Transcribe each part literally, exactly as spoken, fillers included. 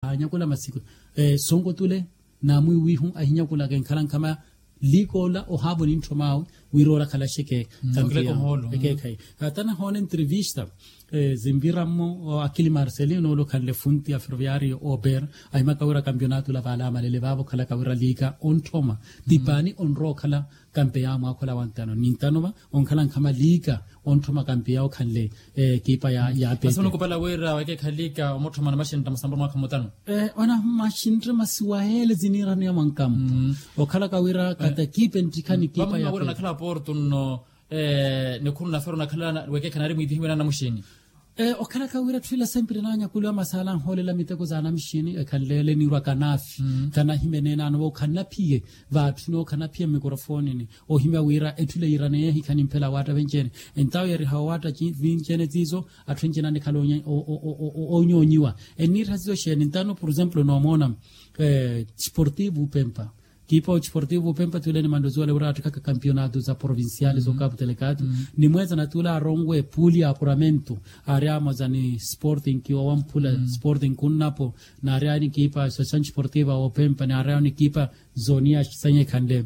Anyakula masiku, sonko tule namwiwihu ahinyakulaka enkhala nkhama. Liikoola ohaavo nintthomaawe wira oolakhalaxeke. Ekeekhayi. Hata nahoona entrevista zinvira mmo akili marcelino ole okhanle funti ya ferroviario ober, ahimaka wira kampionato la vaale amalele vaavo okhalaka wira liika ontthoma tipaani onrowa okhala. Kampeya mwakhola wantano nintano va onkhala nkhama liika ontthoma kampeya okhanle ekipa ya ya pete. Masi munikupala wira wakeekha liika omutthoma na maxintta musamburu mwakha mutano. Ona maxintta masi wayeele ziniiraniya mwankampo okhalaka wira kata ekipa enttikha ni ekipa ya pete. Nakhala porto nno nikhuru nafero nakhala wekeekha nari mwiitihiwe na anamuxini. Okhalaka wira atthu ila sempre naanyakuliwa masaala anhoolela miteko za anamuxini ekhanleele niirwa kanaafi kanahimene naano va okhanaphiye. Vaatthuni okhanaphiya mmikrofonini ohimya wira etthu ile yiiraneya ehikha nimphela awaatta venci-ene. Entawo yariha owaatta vinci-ene ziizo atthu enci-ene anikhala onyoonyiwa. Enniirha ziizo xeeni ntano por exemplo noomoona sportivo upempa kiipa ochiportivo upempa tuule ni manlozi wale wira attikhaka kampionato za provinciale zookapu telekato. Ni mweeza na tuule aaronwe puuli ya apuramento aari amoza ni sporting kiwa wamphula sporting kunnapo. Naari ayo ni kiipa association chiportiva wa upempa naari ayo ni kiipa zoni ya sanyekhanle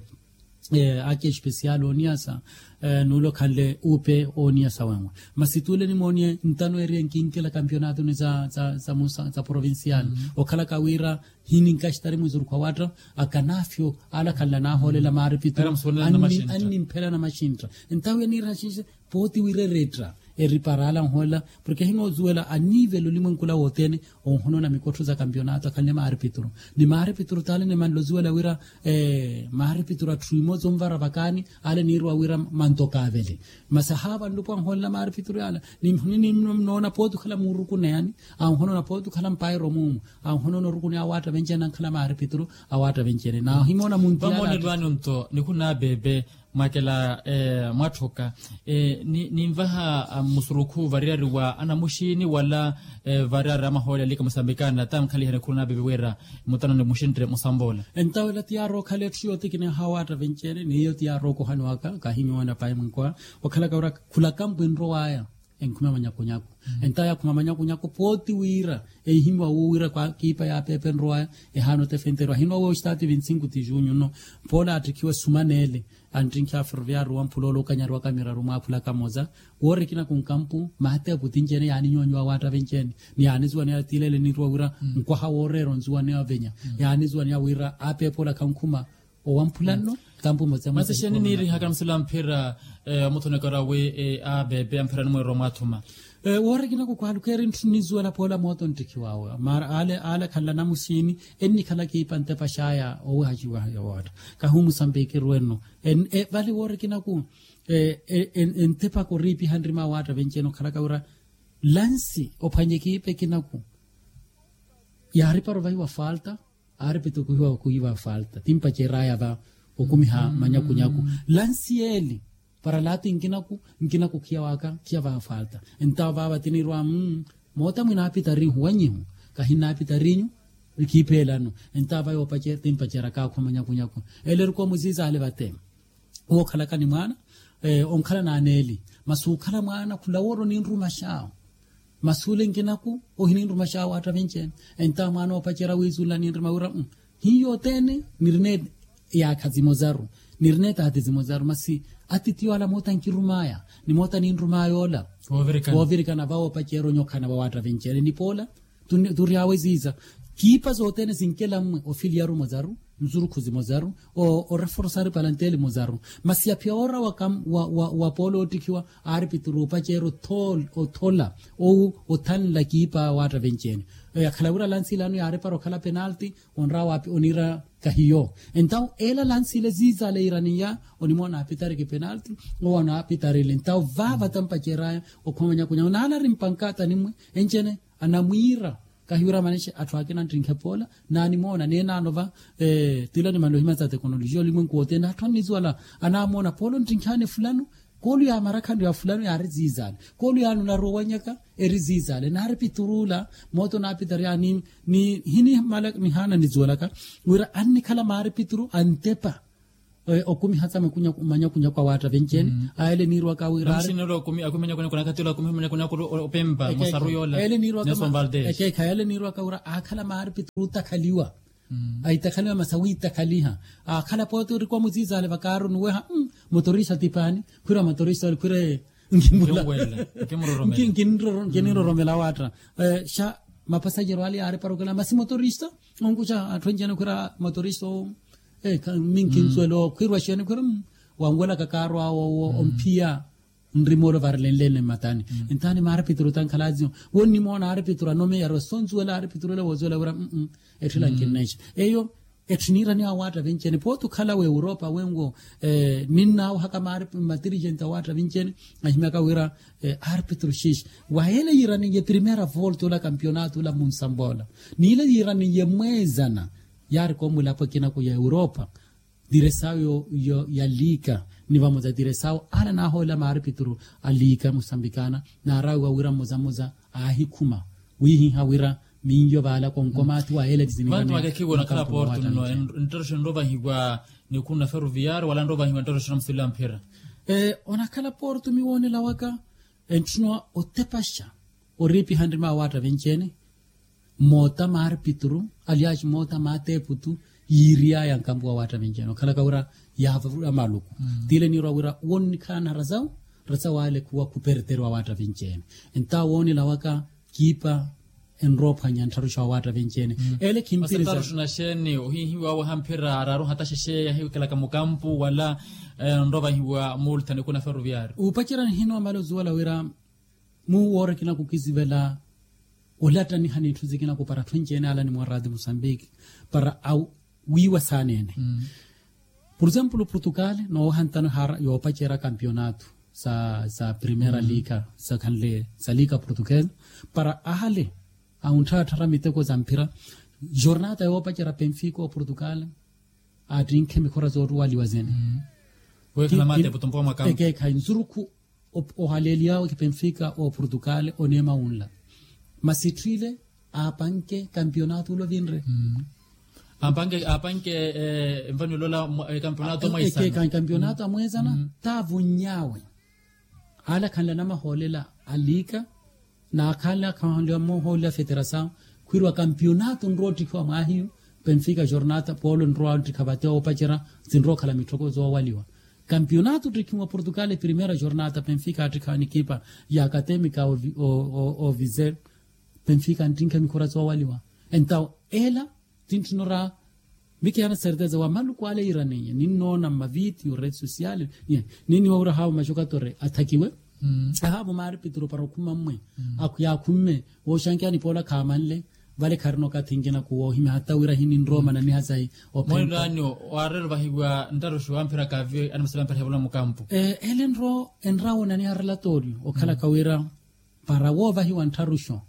aki especial oniyasa. Nuule okhanle upe oniyasa wenwe masi tuule nimooniye ntano eriye nkinkela kampionatoni za provincial okhalaka wira hininkaxitari mwizuruku awaatta akanafyo ale akhanla nahoolela maaripituru annimphela na maxintta. Entawo eniira xinxe pooti wira ereetta eripara ale anhoolela porke hinozuwela anivelo olimwenkula wothene. Onhonoona mikottho za kampionato akhanle maaripituru ni maaripituru taale ni manloziwela wira maaripituru atthu imoza onvara vakaani ale niirwa wira manto kaavele. Masi ahaava nlupo anhoolela maaripituru yaala ni mhuni nimnoona pooti okhala muurukuneyani anhonoona pooti okhala mpairo muumu anhonoona orukuneya awaatta venci-ene ankhala maaripituru awaatta venci-ene na ohimoona munti yaala. Vamoonelwani onto nikhuna abeebe mwakela mwatthoka ninvaha musurukhu variyari wa anamuxini wala variyari amahoole alika musambikana ta nkhalihani khuruna abeebe wira mutano ni muxintte musambola. Entawo ela ti yaari okhala etthu yootikiniha awaatta venci-ene n'iyo ti yaari okohani waka kahinyoona payi mwinkwaha okhalaka wira khula kampu enrowaya enkhume manyakunyaku. Entawo yaakhuma manyakunyaku pooti wira ehihimwa wuwo wira kiipa ya pepe enrowaya ehaana otefenteriwa ahinwa wuwo estati vinti cinco ti junho nno poola attikhiwe sumaneele. Anttinkhi a ferroviario wamphula ole okanyariwaka miraru mwaaphula kamoza woori ekinaku nkampu maatepu tinci-ene yaaninyonyiwa awaatta venci-ene ni yaanizuwaneya tiilele niirwa wira nkwaha wooreera onzuwaneya ovenya yaanizuwaneya wira apeepola khankhuma owamphula nno. Kampu mmoza mmoza masi xeeni niirihaka namusila mphira omuthonekera wi abeebe amphira nimweerwa mwaathuma. Woori ekinaku kwaalukeeri ntthu nnizuwela poola mooto nttikhiwaawe mara ale ale akhanla namuxini ennikhala kiipa ntepa xaaya owehaxiwa ya waatta kahi omusambiki ruwenno. Vale woori ekinaku entepaka oriipiha nrima awaatta venci-ene okhalaka wira lansi ophwanye kiipa ekinaku yaaripara ovahiwa falta. Aaripituru kuhiwa kuhiwa falta timpaceraya va okumiha manyakunyaku lansi yeeli para laati nkinaku nkinaku khiya waka khiya vaha falta. Entawo vaava tiniirwa moota mwinaapitarinhu wanyihu kahinnaapitarinyu. Kiipa elano entawo vaya timpaceraka akhu manyakunyaku ele erikomu ziizaale vate. Wookhalaka ni mwaana onkhala n'aneeli masi okhala mwaana khula woori oninrumaxawo. Masi ole nkinaku ohininrumaxawo atthu avinci-ene. Entawo mwaana oopacerya wiizunla ninruma wira hiyo othene nirina eyaakha zimozaru nirina etaati zimozaru masi atitiyo ala moota nkirumaya ni moota ninrumaya ola. Woovirikana vawo opacerya onyokhana vawo atthu avinci-ene ni poola. Turyawe ziiza kiipa zothene zinkela mmwe ofiliyaru mozaru nzurukhu zimozaru oreforsari palanteli mozaru. Masi yaphiya oora wa poola oottikhiwa aaripituru opacerya othola owu othanla kiipa waatta venci-ene. Yakhala wira lansi ilano yaaripara okhala penalti onrawa oniira kahiyo. Entawo ela lansi ile ziizaale iiraniya onimoona apitariki penalti owo anaapitarile entawo vaava tampaceraya okhuma manyakunyaku naanari mpankata ni mmwe enci-ene anamwiira. Kahiwira manexi atthu akina anttinkhe poola naanimoona neenaano va tila ni malohimaza tekonolojiya olimwenku wothene atthu anniziwala anaamoona poola onttinkhaani fulano koolu yaamarakhanru ya fulano yaari ziizaale koolu yaani onaroowanyaka eri ziizaale naari piturula. Moota onaapitari yaani ni hini mala nihaana niziwalaka wira annikhala maari pituru antepa. Okumiha tsa manyakunyaku awaatta venci-ene. Aele niirwaka wira ari. Namuxinelo akumi manyakunyaku nakatila akumi manyakunyaku opempa musaru yoola. Ekeekha yele niirwaka wira aakhala maaripituru otakhaliwa. Aitakhaliwa masi awiitakhaliha. Aakhala pooti orikwa muziizaale vakaaru nuweha motorista tipaani. Khwira motorista ole khwire nkinroromela awaatta. Xa mapasajero ale yaariparokela masi motorista. Onkuxa atthu enci-ene khwira motorista owo. Ee minkinsuwela owo khwirwa xeeni khwira wanwelaka kaaru awo owo omphiya. Nrimoolo varilenlene mmatani. Entaani maaripituru tankhalaaziyo wonnimoona aaripituru anomeya aro sonsuwela aaripituru ole woosuwela wira etthila nkinnexa. Eyo etthu niiraniwa awaatta vinci-ene pooti okhala w'europa wenwo. Ninnawahaka maari matirijenti awaatta vinci-ene ahimyaka wira aaripituru xiixi. Wahele yiiraniye primera volta ola kampionato ola munsambola niile yiiraniye mweezana. Yaari koomulapo ekinaku ya europa. Diresawo ya liika ni vamoza diresawo ale naahoolela maaripituru a liika musambikana. Naarawiwa wira mmoza mmoza aahikhuma wiihiha wira minyo vaala konkomaathi wa eleti zinivantu makekhiwa onakhala porto nno. Nttaroxo enrovahiwa nikhu na ferroviario wala enrovahiwa nttaroxo na musula mphira. Onakhala porto miwoonela waka entthuna otepaxa oriipiha nrima awaatta vinci-ene. Moota maaripituru aliaxi moota maateeputu yiiriyaya nkampu wa waatta vinci-ene okhalaka wira yaavavula maluku. Tiile niirwa wira wonnikhala na rasawu rasawu ale khuwa khuperteriwa waatta vinci-ene. Entawo woonela waka kiipa enrophwanya nttharuxa wa waatta vinci-ene. Ele khimpiriza. Nttaruxa na xeeni ohihiwa awo ahamphira araaru hata xexeya ahikelaka mukampu wala enrovahiwa multa nikhu na ferroviario. Upacerya nihinoomala ozuwela wira muu woora ekinaku kisivela olattaniha n'itthu sikinaku para atthu enci-ene ala nimwa radio musambiki para awiiwa saana-ene. Por exemplo portugal noowaha ntano ehara yoopacerya kampionato sa primera liga sakhanle sa liga portugal para ale awuntthattharya miteko sa mphira. Jornata yoopacerya penfica oportugal attinkhe mikhora zoottuwaliwa zene. Ekeekhayi nsurukhu ohaleeliyawe kipenfica oportugal oneema wunla masi etthu ile aapanke kampionato ula ovinre. Aapanke aapanke envaniwela ola kampionato amweesana. Kampionato amweesana taavunny'awe ale akhanle anamahoolela a liika. Naakhanle akhanle anamahoolela a feterasawu khwiiriwa kampionato nroottikhiwa mwaahiyu. Penfica jornata polo nrowa nttikha vate oopacerya sinrookhala mitthoko zoowaliwa. Kampionato ottikhiwa portugal primera jornata penfica attikha nikipa ya akatemika ovize. Penfica anttinkha mikhora zoowaliwa entawo ela tintthino ra mikihana serteza wa maluku ale yiiraniye ninnoona mmavitiyo rede social. Ninniwa wira haawo maxokatore athakiwe ahaawo maaripituru para okhuma mmwe. Yaakhumme wooxankeya nipoola khaamanle vale kharina okathi nkinaku woohimya hata wira hininrowa omananiha sahi. Mweelani waareere ovahiwa nttaruxu amphira kaavi animasala amphira hevula mukampu. Ele nro enrawo onaniha relatoriyo okhalaka wira para woovahiwa nttharuxo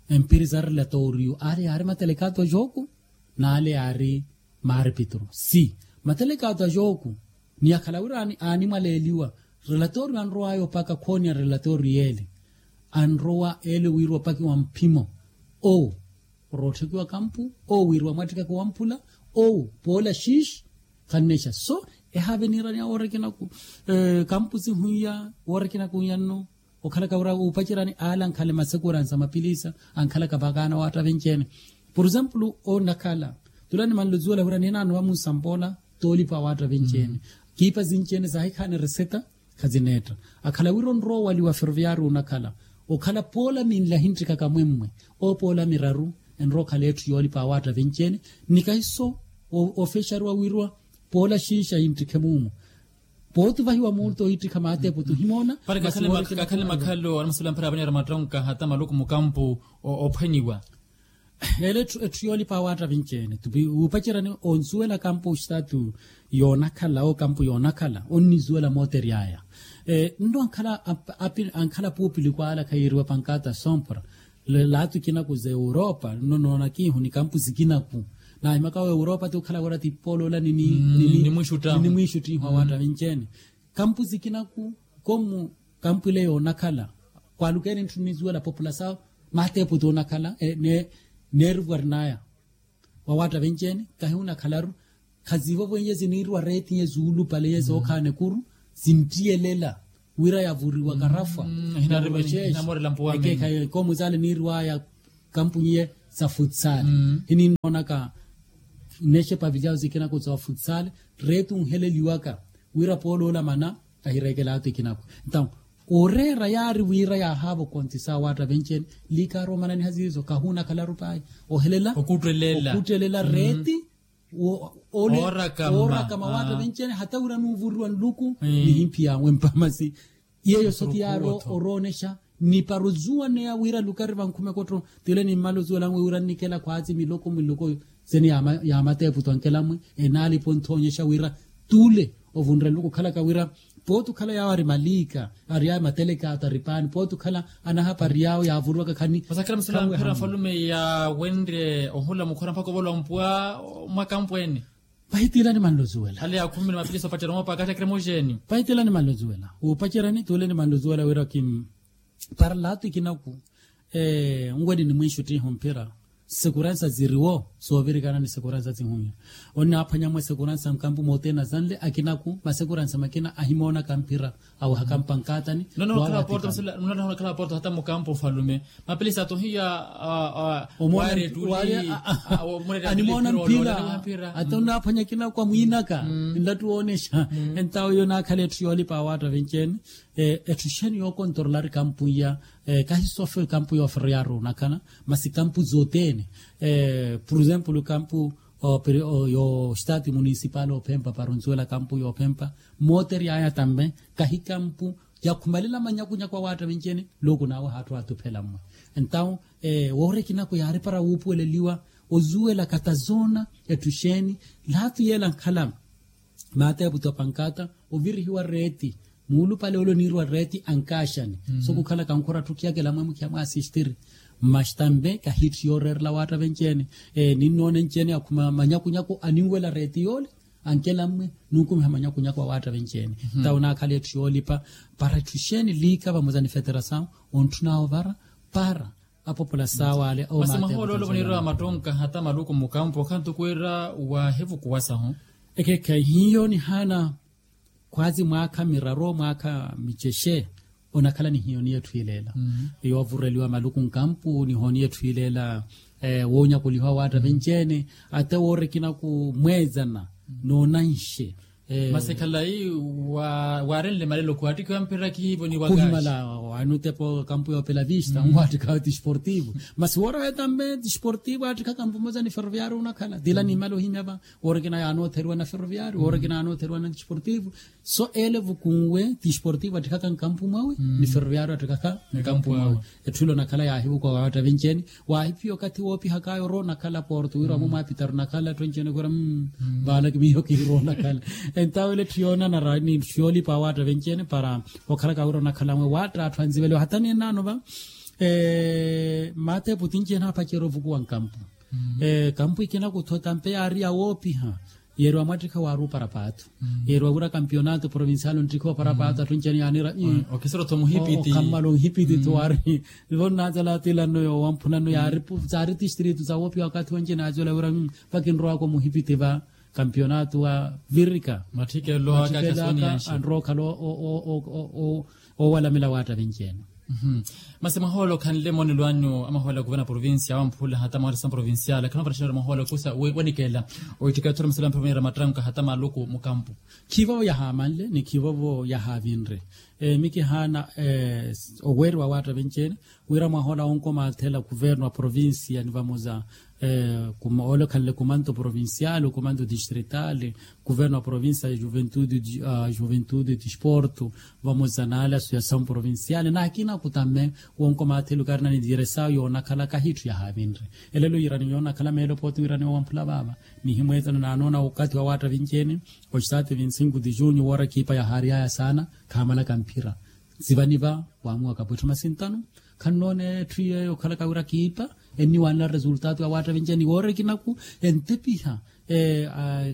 empiri za relatoriyo ale yaari matelekato a joku n'ale yaari maaripituru si matelekato a joku. Ni akhala wira aanimwaleeliwa relatoriyo anrowaya opaka khooniya relatoriyo ele anrowa ele wiiriwa opakiwa mphimo owo orootthakiwa kampu owo wiiriwa mwattikaka wamphula owo poola xiixi. Khannexa so ehaave niiraniya woorekinaku kampu sihuiya woorekinaku wiya nno okhalaka wira wuupacerani ale ankhale masekura nsa mapilisa ankhalaka vakaana waatta venci-ene. Por exemplo onakhala tula nimanle ozuwela wira ninaano vamunsampoola toolipa waatta venci-ene. Kiipa sinci-ene saahikhaani reseta khazineetta akhala wira onrowa owaliwa ferroviario onakhala okhala poola minle ahinttikhaka mwemmwe owo poola miraru enrowa okhala etthu yoolipa awaatta venci-ene. Ni kahiso ofexariwa wiiriwa poola xiixi ahinttikhe muumu. Pooti ovahiwa muulto ohiittikha maateeputu ohimoona. Para kakhale makhalo anamasula mphira avanera mattonka hata maluku mukampu ophwanyiwa. Ele etthu yoolipa awaatta vinci-ene wuupacerani onsuwela kampu oxitaatu yoonakhala owo kampu yoonakhala onnizuwela mootery'aya. Nno ankhala api ankhala puupiliku ale akhayiiriwa pankata sompra laatu ikinaku za europa nno noonakiihu ni kampu sikinaku. Naahimaka wa europa ti okhala wira ti poloola ninimwiixuttihu awaatta vinci-ene. Kampu sikinaku komu kampu ile yoonakhala kwaalukeeni ntthu nnizuwela populasawu maateeputi onakhala neerivarnaya. Wawaatta venci-ene kahi onakhalaru Khazivo vwenye ziniiriwa reeti ye zuulupale ye zookhaana ekuru, zinttiyelela wira yavuriwa karafwa. Hinamorela mpuwa mene. Ekoomuzaale niiriwaya kampunyi ye za futsale. Hininnoonaka nnexe pavilyawo zikinaku za futsale, reeti unheleliwaka wira poolo olamana ahireekela atu ikinaku. Entawo oreera yaari wira yaahaava okontisa awaatta venci-ene. Liikaaru omananiha ziizo kahuunakhalaru pahi ohelela okuuttelela reeti. Ooraka mawaatta venci-ene hata wira nuuvuriwa nluku nihimphi yaawe mpamasi. Yeeyo soti yaari oroonexa ni para ozuwaneya wira lukari vankhume kotto. Tule nimmala ozuwela nwe wira nnikela khwaatsi miloko miloko seni yaamateepu twankela mwe enaalipa onthoonyexa wira tule ovunre nluku okhalaka wira pooti okhala yaawo ari maliika ari yaawo mateleka ataripaani pooti okhala anahapari yaawo yaavuriwaka khani. Masakhala musula mphira mfalume yawenre ohula mukhora mpakha ovolwa mpuwa mwakampweene. Pahitiilani manlozuwela hale ya khumi na mapilisa opacerya moopa akathi akira emoxeeni. Pahitiilani manlozuwela wuupaceryani tuuleni manlozuwela wira kim para laatu ikinaku nweni nimwinxuttiha omphira. Sekuransa ziriwo soovirikana ni sekuransa sihunya. Onnaaphwanya mwe sekuransa nkampu moothene azanle akinaku masekuransa makina ahimoonaka mphira awehaka mpankatani. Nonakhala porto hata mukampu ofalume mapilisa atohiya. Omona mpila ata onaaphwanya kinaku amwiinaka nlattu woonexa. Entawo iyo naakhala etthu yoolipa awaatta venci-ene. Etthu xeeni yookontorolari kampu iya kahi sofe kampu yooferoyaari onakhala masi kampu zothene. Por exemplo kampu yo estati municipal ophempa para onsuwela kampu yoophempa mooteryaya tambe kahi kampu yakhumalela manyakunyaku awaatta venci-ene. Looku naawe haatthu aathuphela mmwe entawo woorikinaku yaari para wuupuweleliwa ozuwela katazoona etthu xeeni laatu yeela nkhala. Maateepu topankata ovirihiwa reeti muulupale ole oniiriwa reeti ankaaxani so kukhalaka nkhora atthu khiyakela mwe mukhiyamwa asistiri. Maxi tambe kahi etthu yooreerela awaatta venci-ene. Ninnoona enci-ene akhuma manyakunyaku aninwela reeti yoole ankela mmwe nunkumiha manyakunyaku awaatta venci-ene. Tawo naakhala etthu yoolipa para etthu xeeni liika vamoza ni feterasawu ontthunawo vara para apopola saawale. Masi mahoolo ole voniiriwa mattonka hata maluku mukampu okhantuku wira waahivukuwasahu. Ekekhe hiyo nihaana khwazi mwaakha miraru mwaakha micexe onakhala ni hiyo niyo etthu ileela. Yoovureliwa maluku nkampu nihooniyo etthu ileela woonyakuliha owaatta venci-ene. Ate woorikinaku mweezana noonanxe. Masi khalayi waarenle malelo khuwaattikhiwa mpira khihivo ni wakaxi. Kuhimala waani otepa okampu yoopela vista nwaattikhawe tisportivo. Masi woora wetambe tisportivo aattikha kampu moza ni ferroviario onakhala tila nimmala ohimya va. Woorikina yaanootheriwa na ferroviario woorikina yaanootheriwa na tisportivo. So ele vukunwe tisportivo attikaka nkampu mwawe ni ferroviario attikaka nkampu mwawe. Etthu ile onakhala yaahivukuwa waatta venci-ene. Waahiphiya okathi woopihakaya orowa onakhala porto wira wamwe mwaapitaru onakhala etthu enci-ene khwira mmm. Vaala kimiyo kihirowa onakhala. Entawo ile etthu yoonanara ni etthu yoolipa awaatta venci-ene para okhalaka wira onakhala mwe waatta atthu anziveliwa hata neenaano va. Maateepu tinci-ene aapacerya ovukuwa nkampu. Kampu ikina kutho tampe yaari yawoopiha yeeriwa mwattikha waari opara paathu. Yeeriwa wira kampionato provincial onttikhiwa opara paathu atthu enci-ene yaaniira. Okhammala onhipiti tho waari nivo nnaazala atilanno yoowamphunano yaari tistritu zawoopiha wakathi wenci-ene aazwela wira vakinrowaka omuhipiti va kampionato wa virika. Matthikelo aka anrowa okhala oowalamela waatta venci-ene. Masi mahoolo khanle monelo anyu amahoolo a kuverna provincia awamphula hata mahoolo a sisama provincial akhanavatta xinara mahoolo a kusa wenikeela oitthika etthu oramasilampha mweera mattanka hata maluku mukampu. Khivovo yahaamanle ni khivovo yahaavinre. Mikihaana oweeriwa waatta venci-ene wira mwahoolo a onkomaathela kuverno a provincia ni vamoza ole okhanle kumanto provincial kumanto distrital kuverno a provincia ya juventude disporto vamoza naale associasaw provincial naakina kutame wonkomaathela okaarina ni diresaw yoonakhala kahitthu yahaavinre. Elelo yiiraniwa yoonakhala meelo pooti wiiraniwa wamphula vaava nihimweetana naanoona okathi wa waatta vinci-ene. Oxitaati vinci-sinku ti junyu woora kiipa yahaaryaya saana khaamalaka mphira. Sivani va waamuwaka pwitthu masintano khannoona etthu yeeyo okhalaka wira kiipa enniwanela resultato ya waatta vinci-ene woora ekinaku entepiha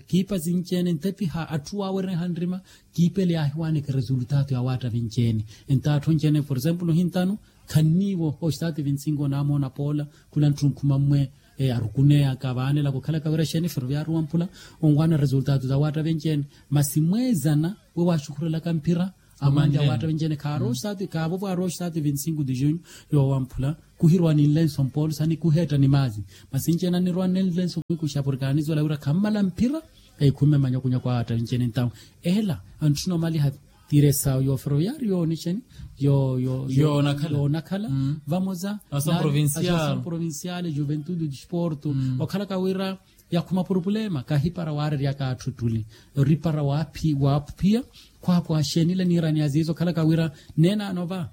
kiipa sinci-ene entepiha atthu waawereha nrima. Kiipa ele yaahiwaneke resultato ya waatta vinci-ene enta atthu enci-ene por exemplo ohintano khanniiwo oxitaati vinci-sinku onaamoona poola khula ntthu nkhuma mmwe. Arukuneya kavaanelaka okhalaka wira xeeni ferroviario wamphula onwaana resultado za waatta venci-ene. Masi mweezana we waaxukhurelaka mphira amwanja waatta venci-ene khaari oxitaati kaavovo ari oxitaati vinti cinco de junho. Yoowamphula kuhirowa ni nlenso mpoolusa ni kuheetta ni maazi. Masi nci-ene anirowa ni nlenso mwikuxa porke anisuwela wira khammala mphira. Ekhumi manyakunyaku a waatta vinci-ene ntawu ela antthuna omaliha. Tiresawu yo ferroviario yo nixeni yo yo yo yoonakhala vamoza asomu provincial juventude disporto. Okhalaka wira yakhuma purupulema kahipara waareryaka atthu ettuli oripara waaphiya khwakhwa xeenile niirani aziizo okhalaka wira neenaano va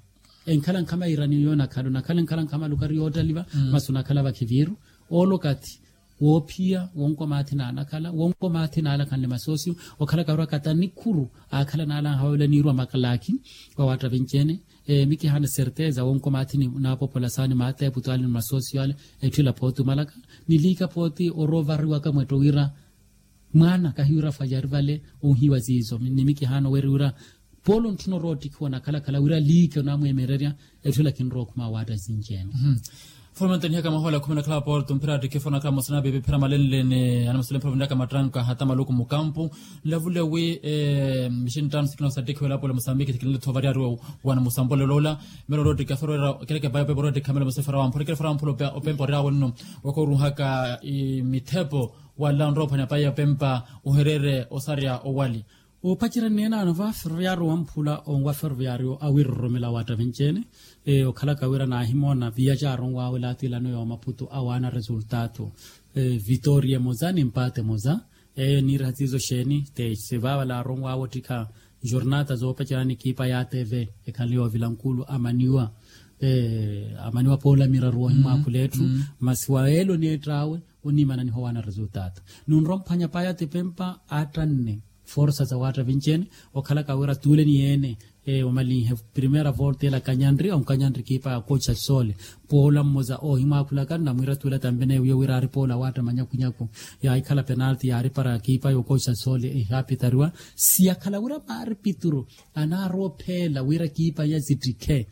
enkhala nkhama irani yoonakhala onakhala enkhala nkhama lukari yoottaliva. Masi onakhala vakhiviiru oolo okathi woophiya wonkomathi naanakhala wonkomathi naalakhanle masosiyo. Okhalaka wira kata nikhuru aakhala naalanha wawela niirwa makalakhi wawaatta vinci-ene. Mikihaana certeza wonkomathi ni naapopola saani maateepu twali ni masosiyo ale etthu ela pooti omalaka ni liika pooti oroovariwaka mwetto wira mwaana kahiwira fwajari vale onhiwa ziizo ni mikihaana oweeri wira poolo ntthuna orowa ottikhiwa onakhalakhala wira liike onamweemererya. Etthu ela khinrowa okhuma awaatta sinci-ene. Fomento nihaka mahola khumi nakhala porto mphira attikhifa onakhala mosina pipi phira malenleni anamasule mphira vinaka mattanka hata maluku mukampu nlavule wi mixinttano sikina osa attikhiwela apola musambiki sikinile tho variari wana musampolelo ola. Melo orowa ottikha ferwera keleke bayo pepe orowa ottikha melo musefera wamphula ekele fera wamphula opempa ori awenno wakooruhaka mithepo wala onrowa ophwanya payi ya pempa ohereere osarya owali. Opacerya neenaano va ferroviario wamphula onwa ferroviario awiroromela awaatta vinci-ene. Okhalaka wira naahimoona viyacaari onwaawe laatiilano yoomaputu awaana resultado vitoria emoza ni mpaate emoza. Eyo niiraha siizo xeeni te sivaavala aari onwaawe ottikha jornata zoopacerya ni ekipa ya atv ekhanle yoovila nkulu amaniwa amaniwa poola miraru woohimwaakhula etthu. Masi wayeela oneetta awe oniimananiha owaana resultado nunrowa omphwanya payi atipempa attanne forsa za waatta vinci-ene. Okhalaka wira tuule ni yeene omalinhe primera volta ela kanyanri onkanyanri ekipa ya kocha sole poola mmoza oohimwaakhulaka nnamwiira tuula tambe neewiyo wira aari poola waatta manyakunyaku yaahikhala penalti yaaripara ekipa ya okocha sole ihaapitariwa. Siyakhala wira maari pituru anaarowa opheela wira ekipa ya zittikhe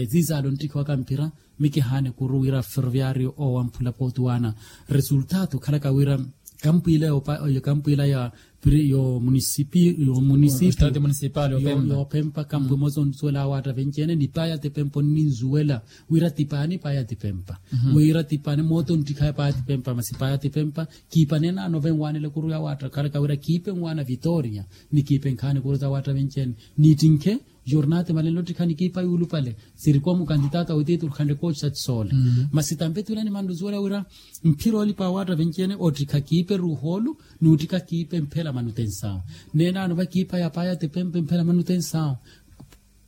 ziizaale onttikhiwaka mphira. Mikihaana ekuru wira ferroviario oowamphula pooti waana resultado okhalaka wira kampu ila yo munisipio yoopempa kampu emosa onisuwela awaatta venci-ene ni payi atipempa onninzuwela wira ti paani payi atipempa wira ti paani moota onttikhawe payi atipempa masi payi atipempa kiipa neenaano venwaanela ekuru ya waatta okhalaka wira kiipa enwaana vitoria ni kiipa enkhaana ekuru za waatta venci-ene niittinkhe jornate malenle ottikha ni ekipa yuulupale sirikomu kantitaata witiiturukhanle kochi sa tisole. Masi tampe tuula nimanluzuwela wira mphira olipa awaatta venci-ene ottikha kiipa eruuhoolu n'uttikha kiipa emphela manutensawu neenaano va ekipa ya payi atipempa emphela manutensawu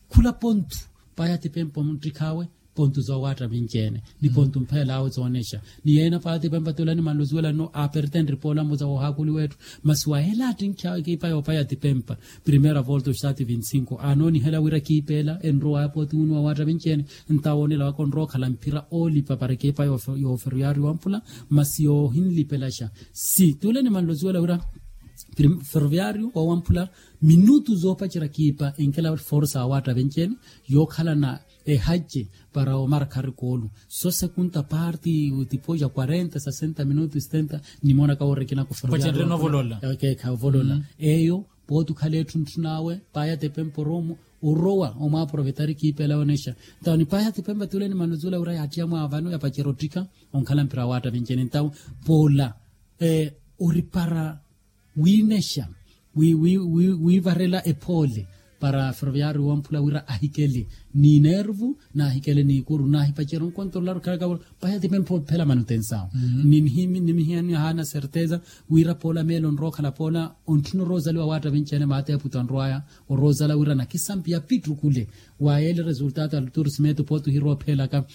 khula pontu payi atipempa omuttikhawe pontu zoowaatta vinci-ene ni pontu mphela awe zoonexa ni yeena paati pempa tuula nimanluzuwela nno apertenri poola mmoza woohaakuliwa etthu. Masi wayeela attinkhi awe ekipa yoopaya atipempa primera volta oxitaati vinti cinco anoonihela wira ekipa ela enrowaya pooti wunu wawaatta vinci-ene nta woonela waka onrowa okhala mphira oolipa para ekipa yooferoyaari wamphula. Masi yoohinlipelaxa si tuula nimanluzuwela wira ferroviario wawamphula minutu zoopacerya ekipa enkela forsa awaatta vinci-ene yookhalana ehace para omarkha arikoolu so sekunta parti tipoja quarenta sesenta minutu setenta. Nimoonaka woorikina kuferoviario ovolola eyo pooti okhala etthu ntthun'awe paaya tipempa orowa omwaaprovetari ekipa ela yoonexa. Ntawo ni paaya tipempa tuule nimanuzula wira yaattiya mwaavano yapacerya ottikha onkhala mpira awaatta vinci-ene ntawo poola oripara wiinexa wiivarela ephoole para ferroviario wamphula wira ahikele ni nervu naahikele n'ikuru naahipacerya onkontrolaru khalaka paya tipempa ophela manutensawo. Nimihiyani ahaana certeza wira poola meelo onrowa okhala poola ontthuna oroozaliwa awaatta vinci-ene maateeputo anrowaya oroozala wira nakisampi yapittukule. Wayeele resultado ya luturismeto pooti ohirowa ophelaka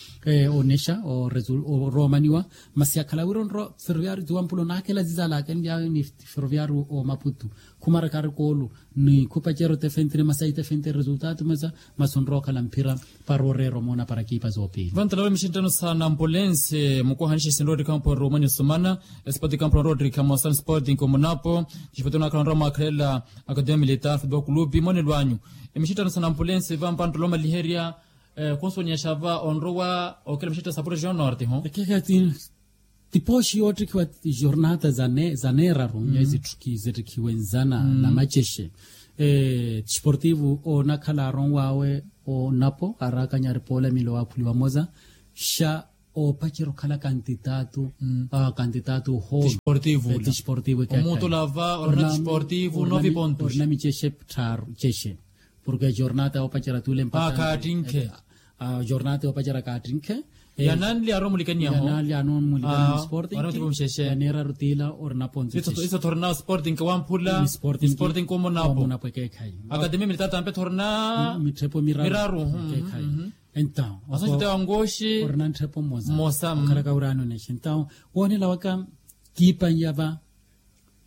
onexa oroomaniwa. Masi yakhala wira onrowa ferroviario tiwampula onakhela zizalaka enly'awe ni ferroviario omaputu khumaraka arikoolu ni khupacerya otefentire masi aitefentire resultado mesa masi onrowa okhala mphira para oreera omoona para ekipa zoopiili. Vantalawe mixinttano sa nampulense mukuhanishe sinrowa ottikhampo roomani osumana espoti kampo na rowa ottikha mosani sporting omunapo. Xifutuna akhala onrowa mwakhalela akademia militar futebol clube monelo anyu. Emixitthano sa nampulense vampanttolo omaliherya khunsuwanyasha va onrowa okela mixitthano sa projeon norte ho. Tipooxi yoottikhiwa jornata za neeraru nyezi ttikhiwe nzana na macexe. Tisportivu onakhala aronw'awe onapo araakanyari poola milo waakhuliwa moza xa oopacerya okhala kantitaatu. Kantitaatu ohoolo. Tisportivu ula. Tisportivu ekeekhayi. Omuutu olava orina tisportivu novipa ontuxa. Orina micexe tthaaru cexe. Porke jornata yoopacerya tuule mpakha kaattinkhe. Jornata yoopacerya kaattinkhe. Yananli aromulikaniyaho. Yananli aromulikaniyaho. Sporting. Yaneeraru tiila orina ponto cexe. Iso thorina sporting wamphula. Sporting omonapo ekeekhayi. Akatemi militatampe thorina mittepho miraru. Ekeekhayi. Entawo asoxita wa ngoxi orina nttepho mmosa. Okhalaka wira anonexe entawo woonela waka kiipa nyava.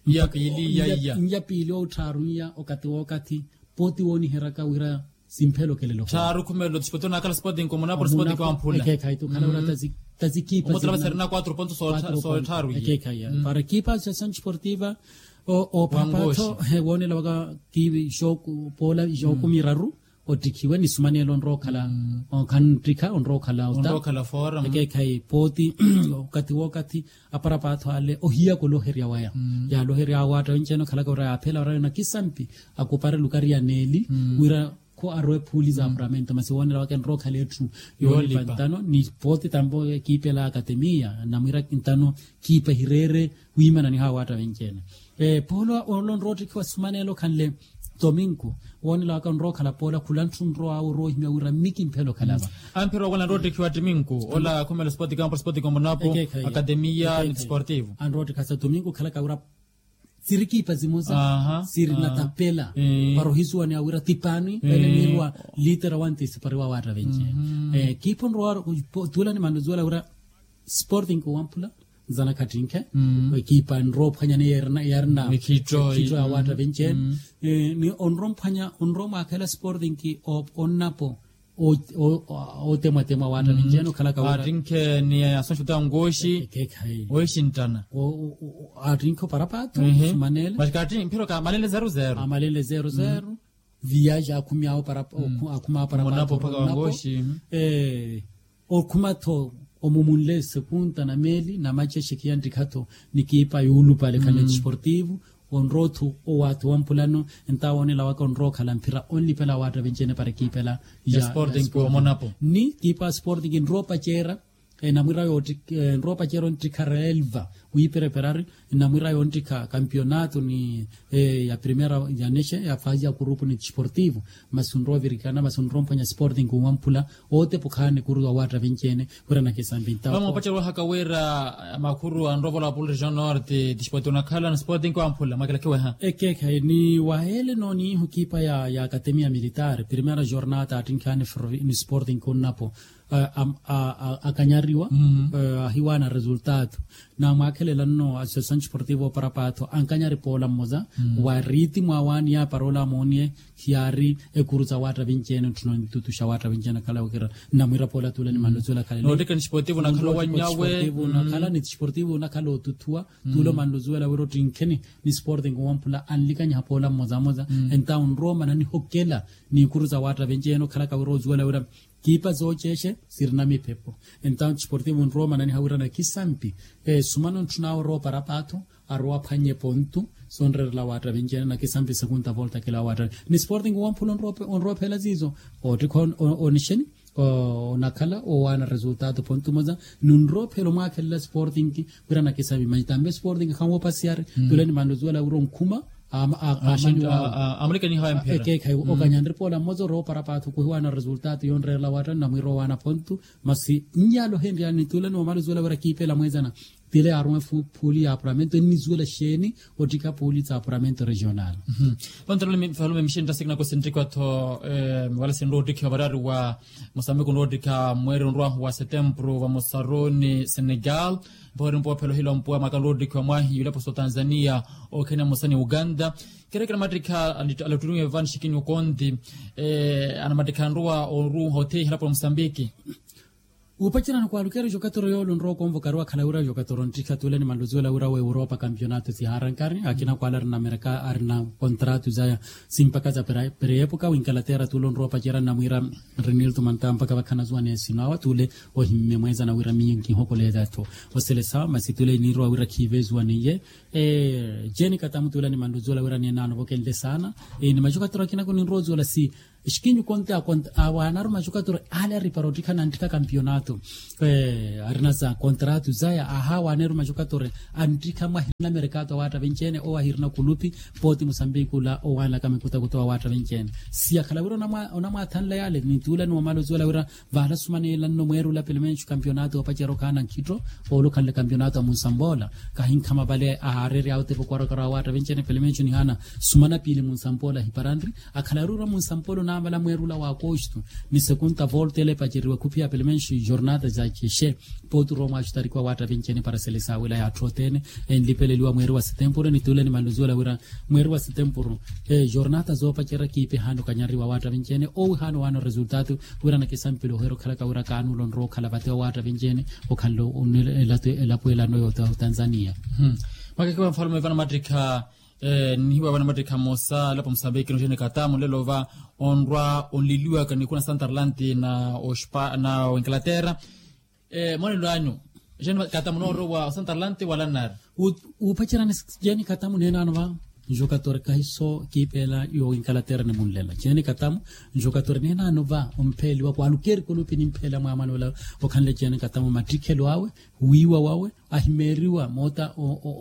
Nyapiili yaiya. Nyapiili otthaarunnya okathi wookathi pooti wooniheryaka wira simphelokelelo. Tthaaru khumelo tisporting onakhala sporting omonapo sporting wamphula. Ekeekhayi tukhala wira tazikiipa omutala vaserina quatro ponto sootthaarunnya. Ekeekhayi para kiipa associação desportiva. Oophapaatho woonela waka kiivi poola ixooku miraru. Ottikhiwe ni sumaneelo onrowa okhala okhantttikha onrowa okhala ota. Ekeekhayi pooti okathi wookathi aparapatho ale ohiyaka oloherya waya. Yaale oherya awaatta wenci-ene okhalaka ora yaaphela ora nakisampi akupare lukari ya neeli wira kho arowe phuuli za apuramento masi woonela waka enrowa okhala etthu yoolipa ntano ni pooti tampo ekiipela akatemiya namwira ntano kiipa hireere wiimananiha awaatta wenci-ene. Poola onrowa ottikhiwa sumaneela okhanle tominku woonela waka onrowa okhala poola khula ntthu nrow'awe orowa ohimya wira mmi kimphela okhalava. Amphira owola anrowa ottikhiwa ttiminku ola khumela sporting campo sporting omonapo akatemiya ni tisportivu anrowa ottikhiwa sa tominku okhalaka wira sirikiipa zimoza sirinatapela para ohisuwaneya wira tipaani ele niirwa litera wantisi pariwa awaatta venci-ene. Kiipa onrowa tuula ni mannuzuwela wira sporting owamphula nzana khattinkhe. Ekiipa nrowa ophwanya ni yarina khittho ya waatta venci-ene. Ni onrowa omphwanya onrowa omwaakhela sporting onnapo ootemwatemwa waatta venci-ene okhalaka wira aattinkhe ni asoxuta ngoxi. Ekeekhayi oixinttana aattinkhe oparapatho sumaneele. Masi kaattinkhe mphira kaamalenle zeru zeru. Amalenle zeru zeru. Viyaji akhumy'awe oparapatho okhum'awe oparapatho okhuma-tho omumunle sekunta na meeli na macexe khiyanttikha-tho ni kiipa yoolupale khale tisportivu. Onrowa othu owaathi wamphulano entawo woonela waka onrowa okhala mphira onlipela awaatta venci-ene para ekiipela ya sporting omonapo ni kiipa sporting nrowa opaceera. Namwira yoottikha nrowa opaceera ontthikhara elva wiipereperari namwira yoottikha kampionato ni ya primera yanexe ya fasi ya kurupu ni tisportivu. Masi onrowa ovirikana masi onrowa omphwanya sporting owamphula ootepukhaani ekuru awaatta venci-ene wira nakisampi ntao. Vamwe opacerya wahaka wira makhuru anrowa ovola wa polo region norte tisporting onakhala ni sporting wamphula mwakilakhiweha. Ekeekhayi ni waheele nooniihu kiipa ya akatemiya militaari primera jornata attinkhaani ni sporting onnapo akanyariwa ahiwaana resultado. Namwaakhelela nno associação desportiva oparapatho ankanyari poola mmoza wa riiti mwaawaani yaapara ola amooniye khiyaari ekuru za waatta venci-ene ntthuna onitutuxa waatta venci-ene akhala okira nnamwira poola tuula ni mannuzuwela khalele. Noottikha ni tisportivu onakhala owanyawe. Onakhala ni tisportivu onakhala otuthuwa tuula omannuzuwela wira ottinkheni ni sporting owamphula anlikanyiha poola mmoza mmoza entawo onrowa omananiha okela ni ekuru za waatta venci-ene okhalaka wira ozuwela wira kiipa zooceexe sirina miphepho. Entawo tisportivu onrowa omananiha wira nakisampi sumano ntthun'awe orowa oparapatho arowa aphwanye pontu sonreerela waatta venci-ene nakisampi sekunta volta kila waatta ni sporting owamphula onrowa ophela ziizo oottikha onixeni onakhala owaana resultado pontu moza ni onrowa ophela omwaakhelela sporting wira nakisampi manyi tampe sporting khanwoopasiyari tule ni mannuzuwela wira onkhuma. Amulikaniha emphira ekeekhayi okanyanripoola mmoza orowa oparapatho khuhiwaana resultado yonreerela waatta nnamwira owaana pontu. Masi nnyala ohenryani nituula ni wamala ozuwela wira kiipela mweezana tile yaarume phuuli ya apuramento ennizuwela xeeni ottikha phuuli za apuramento regional. Pantaloni falume mixintta sikinako sinttikwa-tho wala sinrowa ottikhiwa varari wa mosambiki onrowa ottikha mweeri onrow'ahu wa setempuru vamosaru ni senegal. Mpooheri mpoophela ohila ompuwa mwaaka onrowa ottikhiwa mwaahi yuleposo tanzania okhene mmosa ni uganda. Kerekera mattikha alattunuwe vani xikini okonti anamattikha anrowa oruuha otheiha elapo la mosambiki. Upacerana kwalukera jokatoro yolo nrowa konvokariwa khala wira jokatoro nttikha tule ni manluzuwela wira wa europa kampionato siharankari akina kwala arina mereka arina kontratu zaya simpaka za pereyepuka winkalatera tule nrowa pacerana mwira rinilto manta mpaka vakhana zuwa nesino awa tule ohimme mweza na wira miyo nkihokolela tho. Oselesawa masi tule nirwa wira khive zuwa niye. Jeni katamu tule ni manluzuwela wira niye nano vokenle sana. Ni majokatoro akina kuninrowa zuwela si xikinyu konte akonte awaanaru maxukatori ale aripara ottikhana nttikha kampionato. Arina za kontratu zaya ahawaaneru maxukatori anttikha mwahirina merekato awaatta venci-ene owo ahirina kulupi. Pooti musambiki ula owaanlaka mikutakuta wawaatta venci-ene. Siyakhala wira onamwaathanla yale nituula ni wamala ozuwela wira vaala sumaneela nno mweerula pelemenxu kampionato oopacera okhaana nkhitto. Oolukhanle kampionato a munsampoola kahinkhama vale ahaareerya awo tepo kwarokaro awaatta venci-ene pelemenxu nihaana sumana piili munsampoola hiparanri. Akhala aruura munsampolo naamala mweerula wa akosto ni sekunta volta ele epaceriwa khuphiya pelemenxi jornata za cexe. Pooti orowa mwaaxutarikiwa waatta venci-ene para selesaawela yaatthu othene enlipeleliwa mweeri wa setempuru nituule ni manluzuwela wira mweeri wa setempuru jornata zoopacerya kiipi ehaana okanyariwa waatta venci-ene owo ehaana owaana oresultatu. Wira nakisampile oheera okhalaka wira kaanuula onrowa okhala vate wa waatta venci-ene okhanle onela elapo elano yootanzaniya. Mwakekiwa nfalume vana mattikha nihiwa vana mattikha mmosa elapo musambiki nojeni katamu nlelo va onrwa onliliwaka nikuna santarlanti na oinkalatera. Mwanelo anyu jeni katamu noorowa osantarlanti wala nnari. Upacerani jeni katamu neenano va njokatori kahiso kiipeela yoinkalatera ni munlela jeni katamu njokatori neenano va ompheeliwa kwalukeri kulupi nimpheela mwaamanola. Okhanle jeni katamu mattikhelo awe wiiwa wawe ahimeeriwa moota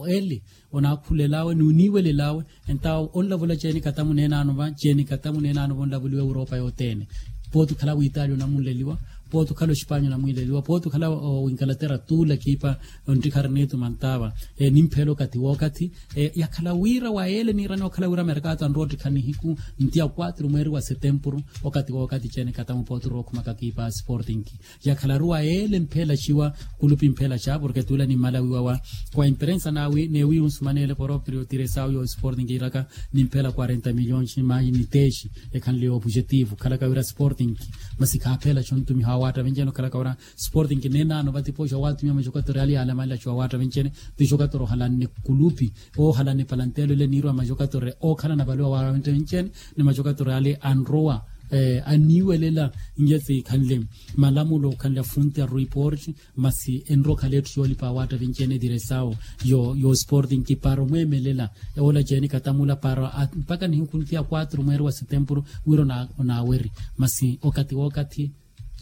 eli onaakhulel'awe ni oniiwelel'awe. Entawo onlavula ceeni katamu neenaano va ceeni katamu neenaano va onlavuliwa europa yothene. Pooti okhala witaali onamunleliwa pooti okhala oxipanya onamunleliwa pooti okhala winkalatera tuula kiipa onttikha ariniitu mantava. Nimpheela okathi wookathi yakhala wira wa yeele niirani okhala wira merkato anrowa ottikha nihiku nti ya kwatru mweeri wa setempuru. Okathi wookathi ceeni katamu pooti orookhumaka kiipa sporting yakhalaru wa yeele mphelaxiwa kulupi mphelaxa porke tuula nimmala wiiwa wa wa imperensa neewiiwa onsumaneele poroprio tiresawu yo sporting iraka nimphela quarenta milhões mayi niteexi ekhanle yo objetivo khalaka wira sporting. Masi khaaphelaxa ontumiha wa waatta venci-ene okhalaka wira sporting neenaano vatipoxa waatumiha maxokatori ale yaalamanlaxiwa waatta venci-ene. Tixokatori ohalanne kulupi ohalanne palanteelo ile niirwa maxokatori ookhalana vale wa waatta venci-ene ni maxokatori ale anrowa aniiwelela. Nje sikhanle malamulo okhanle afunti a report masi enrokhale etthu yoolipa awaatta vinci-ene diresawo yo sporting para omweemelela. Oola jeeni katamula para mpaka nihiku nti ya kwatru mweeri wa setempuru wira onaaweri masi okathi wookathi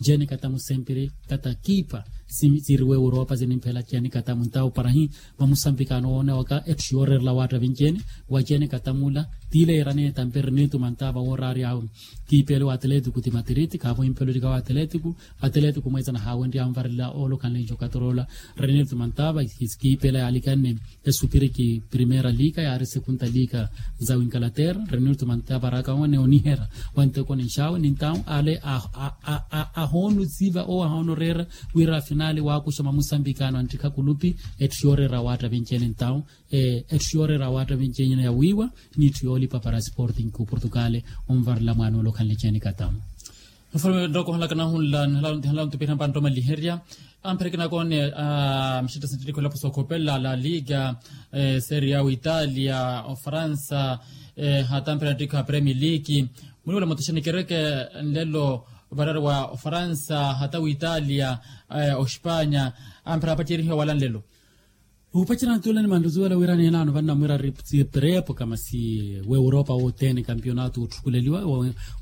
jeeni katamu sempiri kata kiipa siriwe europa sinimphela jeeni katamu ntawo para hi vamusambikano woonewaka etthu yooreerela awaatta vinci-ene wa jeeni katamula tiile yeeraneya etampe eriniituma ntaava wooraarya awe kiipeele wa atletico ti matiriti khaavo impelo lika wa atletico. Atletico mweesana haawenrya anvarela oolokhanle njokatoroola renilto mantava kiipeela yaalikanne esupiriki primeira lika yaari sekunta lika za winkalaterra renilto mantava araaka wane onihera wanteko ninxaawe nintawo ale ahoonusiva owo ahoonoreera wira afinali waakuxa mwamusambikano anttikha kulupi. Etthu yooreera awaatta vinci-ene ntawo etthu yooreera awaatta vinci-ene yawiiwa n'itthu yoolipa para sporting ku portugal onvarela mwaana ole okhanle jeeni katamu. Nfalume nrooko ohalaka nahunla nihala ontupira mpantta omaliherya ampherekena koone a mixetta sinttitikhu elapo sookhopela la liga seria witalia ofaransa hata ampherena ttikhu a premier league. Muniwela mutixeni kereke nlelo varari wa ofaransa hata witalia oxipanya ampherena apacerihiwa wala nlelo. Upacerana tule ni manruzuwela wira neenaano vannamwira ri preepoka masi w'europa wothene kampionato otthukuleliwa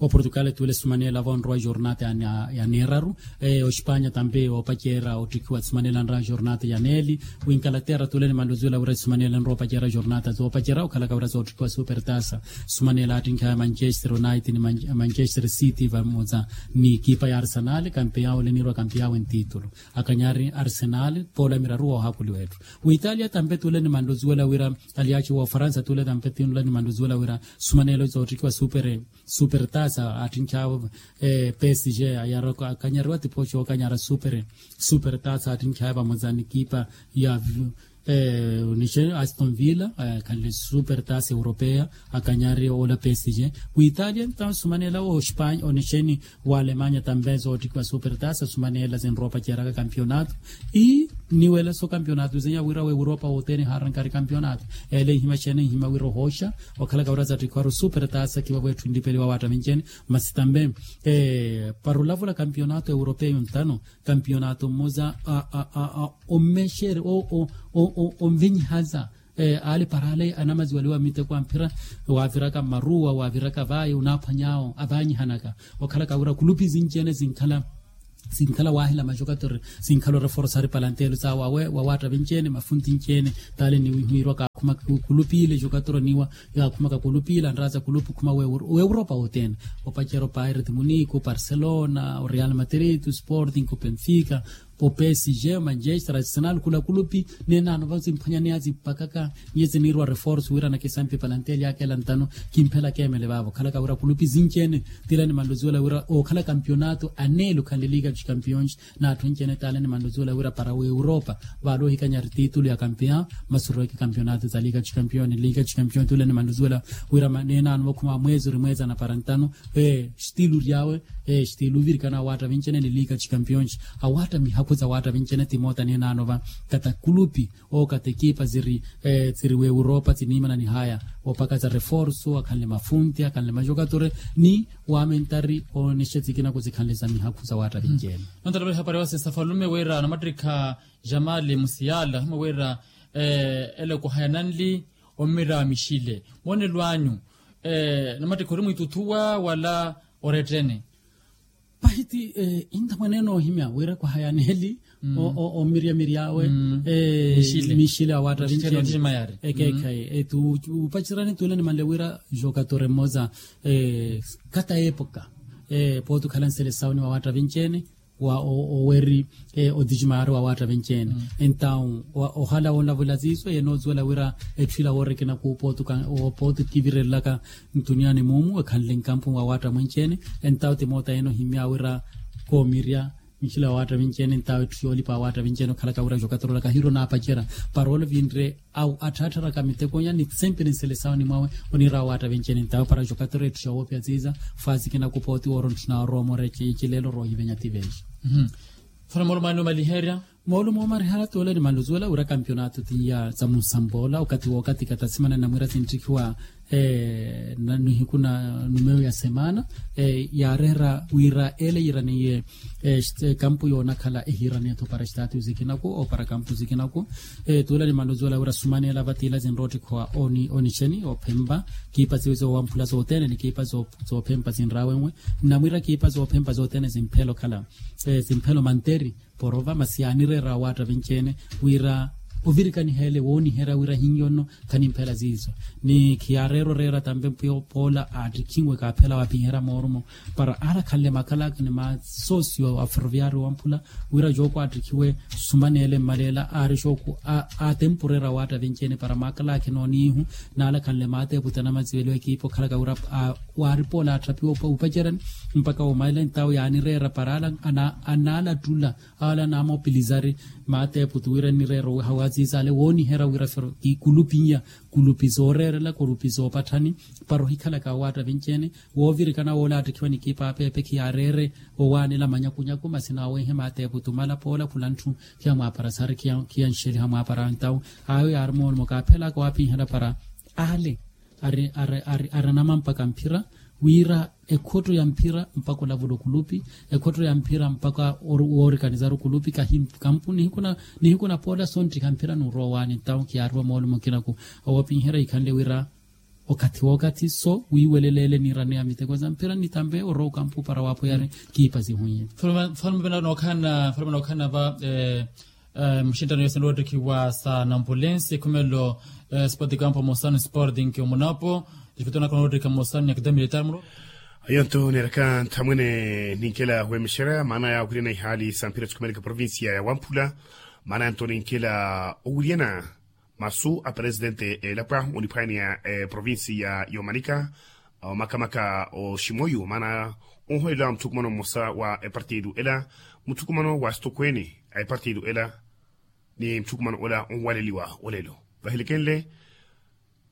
wa portugal tule sumaneela vonrowa jornata ya neeraru. Oxipanya tampe opaceera ottikhiwa sumaneela nra jornata ya neeli. Winkalaterra tule ni manruzuwela wira sumaneela nrowa opaceera jornata zoopacera okhalaka wira zoottikhiwa supertasa sumaneela attinkha ya manchester united ni manchester city vamoza ni ekipa ya arsenal kampeyawo ole niirwa kampeyawe ntitulu. Akanyari arsenal poola miraru woohakuliwa etthu. Witalia tampe tule ni manruzuwela wira aliyaaci wa ofaransa tule tampe tule ni manruzuwela wira sumaneelo zoottikiwa supertasa attinkhaawe psg. Akanyariwa tipooxi ookanyara supertasa attinkhaawe vamoza ni ekipa ya Onixeni aston villa, akhanle super tasa europeia, akanyari ola psg. Witalia ntawo sumanela ospanya onixeni, wa alemanya tambe zoottikiwa super tasa sumanela zinropa ceraka kampionato. Ii, niwela so kampionato zenya wira wa europa wothene harankari kampionato. Ela ihima xene ihima wira ohoxa, okhalaka wira zattikhiwaru super tasa kiwa wetthu nlipeliwa watta vincene. Masi tambe para olavula kampionato europeia yontano, kampionato mmoza a ommexere onvinyihaza. Ale para ale anamaziwaliwa miteko amphira, waviraka mmaruwa waviraka vayi onaphwany'awo avanyihanaka. Okhalaka wira kulupi zinci-ene zinkhala, zinkhala wahila majokatori, zinkhala oreforsari palantelo sawe awe wawatta vinci-ene mafunti nci-ene. Tale niwihwirwa kaakhumaka kulupi ile jokatori niwa, yaakhumaka kulupi ile anraza kulupi khuma w'europa wothene. Opacera opaireti muniku parcelona oreal madrid osporting openfica, opsg manchester arsenal khula kulupi. Neenano vasimphwanyaneya zimpakaka, nyezi niirwa reforce wira nakisampi palanteli aka ela ntano. Kimphela keemele vaavo khalaka wira kulupi zinci-ene, tila nimanluziwela wira okhala kampionato aneele okhanle liga dos campions. N'atthu anci-ene tale nimanluziwela wira para w'europa, vaale ohikanyari titulu ya campion. Masurweke kampionato za liga dos campion liga dos campion tule nimanluziwela wira neenano vakhuma mweezi ori mweezi anapara ntano. Estilu ryawe, estilu ovirikana awatta vinci-ene ni liga dos campions. Awatta mihakhu za watta vinci-ene timoota neenano va kata kulupi oo kata ekipa ziri, ziri w'europa ziniimana nihaya opaka za reforso akhanle mafunti akhanle majokatori, ni wamentari onexe zikinako zikhanle za mihakhu za watta vinci-ene. Nontala vale hapari wasinsa falume wira namattikha jamali musiyala himwe wira, ela ekuhaya nanli omira mixile moonelo anyu, namattikha ori mwiituthuwa wala orettene? Pahiti intha mwaneene ohimya wira kwahaya neeli omiryamiry'awe mixile awatta vinci-ene. Ekeekhayi etu upacerani tule nimanle wira jokatori mmoza kata epoka pooti okhala nselesawo ni wawatta vinci-ene wa oweri, oticimaari wawatta vinci-ene. Entawu ohala woolavula ziiso yenoozwela wira etthu ila woorikina kuupooti okivirelelaka ntuniani muumu ekhanle nkampu wawatta mwinci-ene. Entawu timoota yenohimya wira koomirya nxila wawatta vinci-ene entawu etthu yoolipa wawatta vinci-ene okhalaka wira jokatorolaka hiiro naapacera para ole vinre. Atthaatharaka mitekonya ni sempiri nselesawani mwawe oniira wawatta vinci-ene entawu para jokatorela etthu xoowoopya ziiza. Faasi kinakupa oti wooro ntthuna orowa omoora ecileelo roohivenya tiveexa. Fala moolumo anni omaliherya. Moolumo omaliherya toole nimanluzuwela wira kampionato tiya za munsampoola okathi wookathi kata simana ninamwiira sintthikiwa nihiku na numeyo ya semana yaareera wira ele yiiraniye ekampu yoonakhala ehiiraniye-tho para estatiyo zikinaku opara kampu zikinaku. Tuula nimanluzuwela wira sumaneela vatiila zinroottikhiwa onixeni ophempa kiipa siwe zoowamphula sothene ni kiipa zoophempa zinraawenwe. Nnamwiira kiipa zoophempa sothene zimphela okhala zimphela omanteri porova masi yaanireera awaatta vinci-ene wira ovirikaniha ele wooniherya wira hinyo nno. Khanimphela ziizo ni khiyaareera oreera tampe mpwiya opoola aattikhinwe kaaphela waapiherya moorumo para aari akhanle makhalaka ni masoosio a ferroviario wamphula wira jooku aattikhiwe sumaneele mmaleela aari jooku aatempureera awaatta vinci-ene para maakhalaka enooniihu naala akhanle maateeputi anamaziweliwa ekiipa okhalaka wira waaripa ole aatthaphiwa upacerani mpakha woomalela entawo yaanireera para ala anaalattula ala anaamopilizari maateeputi wira nnireera owiha waaziiza ale wooniherya wira fero kulupi iya kulupi zooreerela kulupi zoopatthani para ohikhalaka awaatta vinci-ene woovirikana woola aattikhiwa ni kiipa apeepe khiyaareere owaanela manyakunyaku masi naawenhe maateeputi omala poola khula ntthu khiyamwaapara sari khiyanxeliha mwaapara entawo ayo yaari moolumo kaaphelaka waapinherya para ale ari anamampaka mphira wira ekhotto ya mphira mpakha olavula okulupi ekhotto ya mphira mpakha woorikanizara okulupi kampuni nihiku na poola sonttikha mphira nuurowa owaani entawo khiyaariwa moolumo kinaku owoopinherya ikhanle wira okathi wookathi so wiiweleleele niiraneya miteko za mphira nitampe orowa okampu para waapoyari kiipa zihunye. Mfalme nookhanana va muxinttano yoosi enroottikhiwa sa nampulensi ekhumelo sport campo mosano sporting omunapo. Difito nakona oottikha mosano ni academia de tarmuro. Ayo nto neeraka nthamwene ninkela weemexerya maana ya owiryana ihaali sa mphira sikhumeleke provincia ya wamphula. Maana ya nto ninkela owiryana masu a presidente elapwa oniphwaneya eprovincia yomanika makamaka oximoyu maana onholela muthukumano mmosa wa epartido ela muthukumano wa stokweni a epartido ela. ni muthukumano ola onwaleliwa olelo. Vahelekenle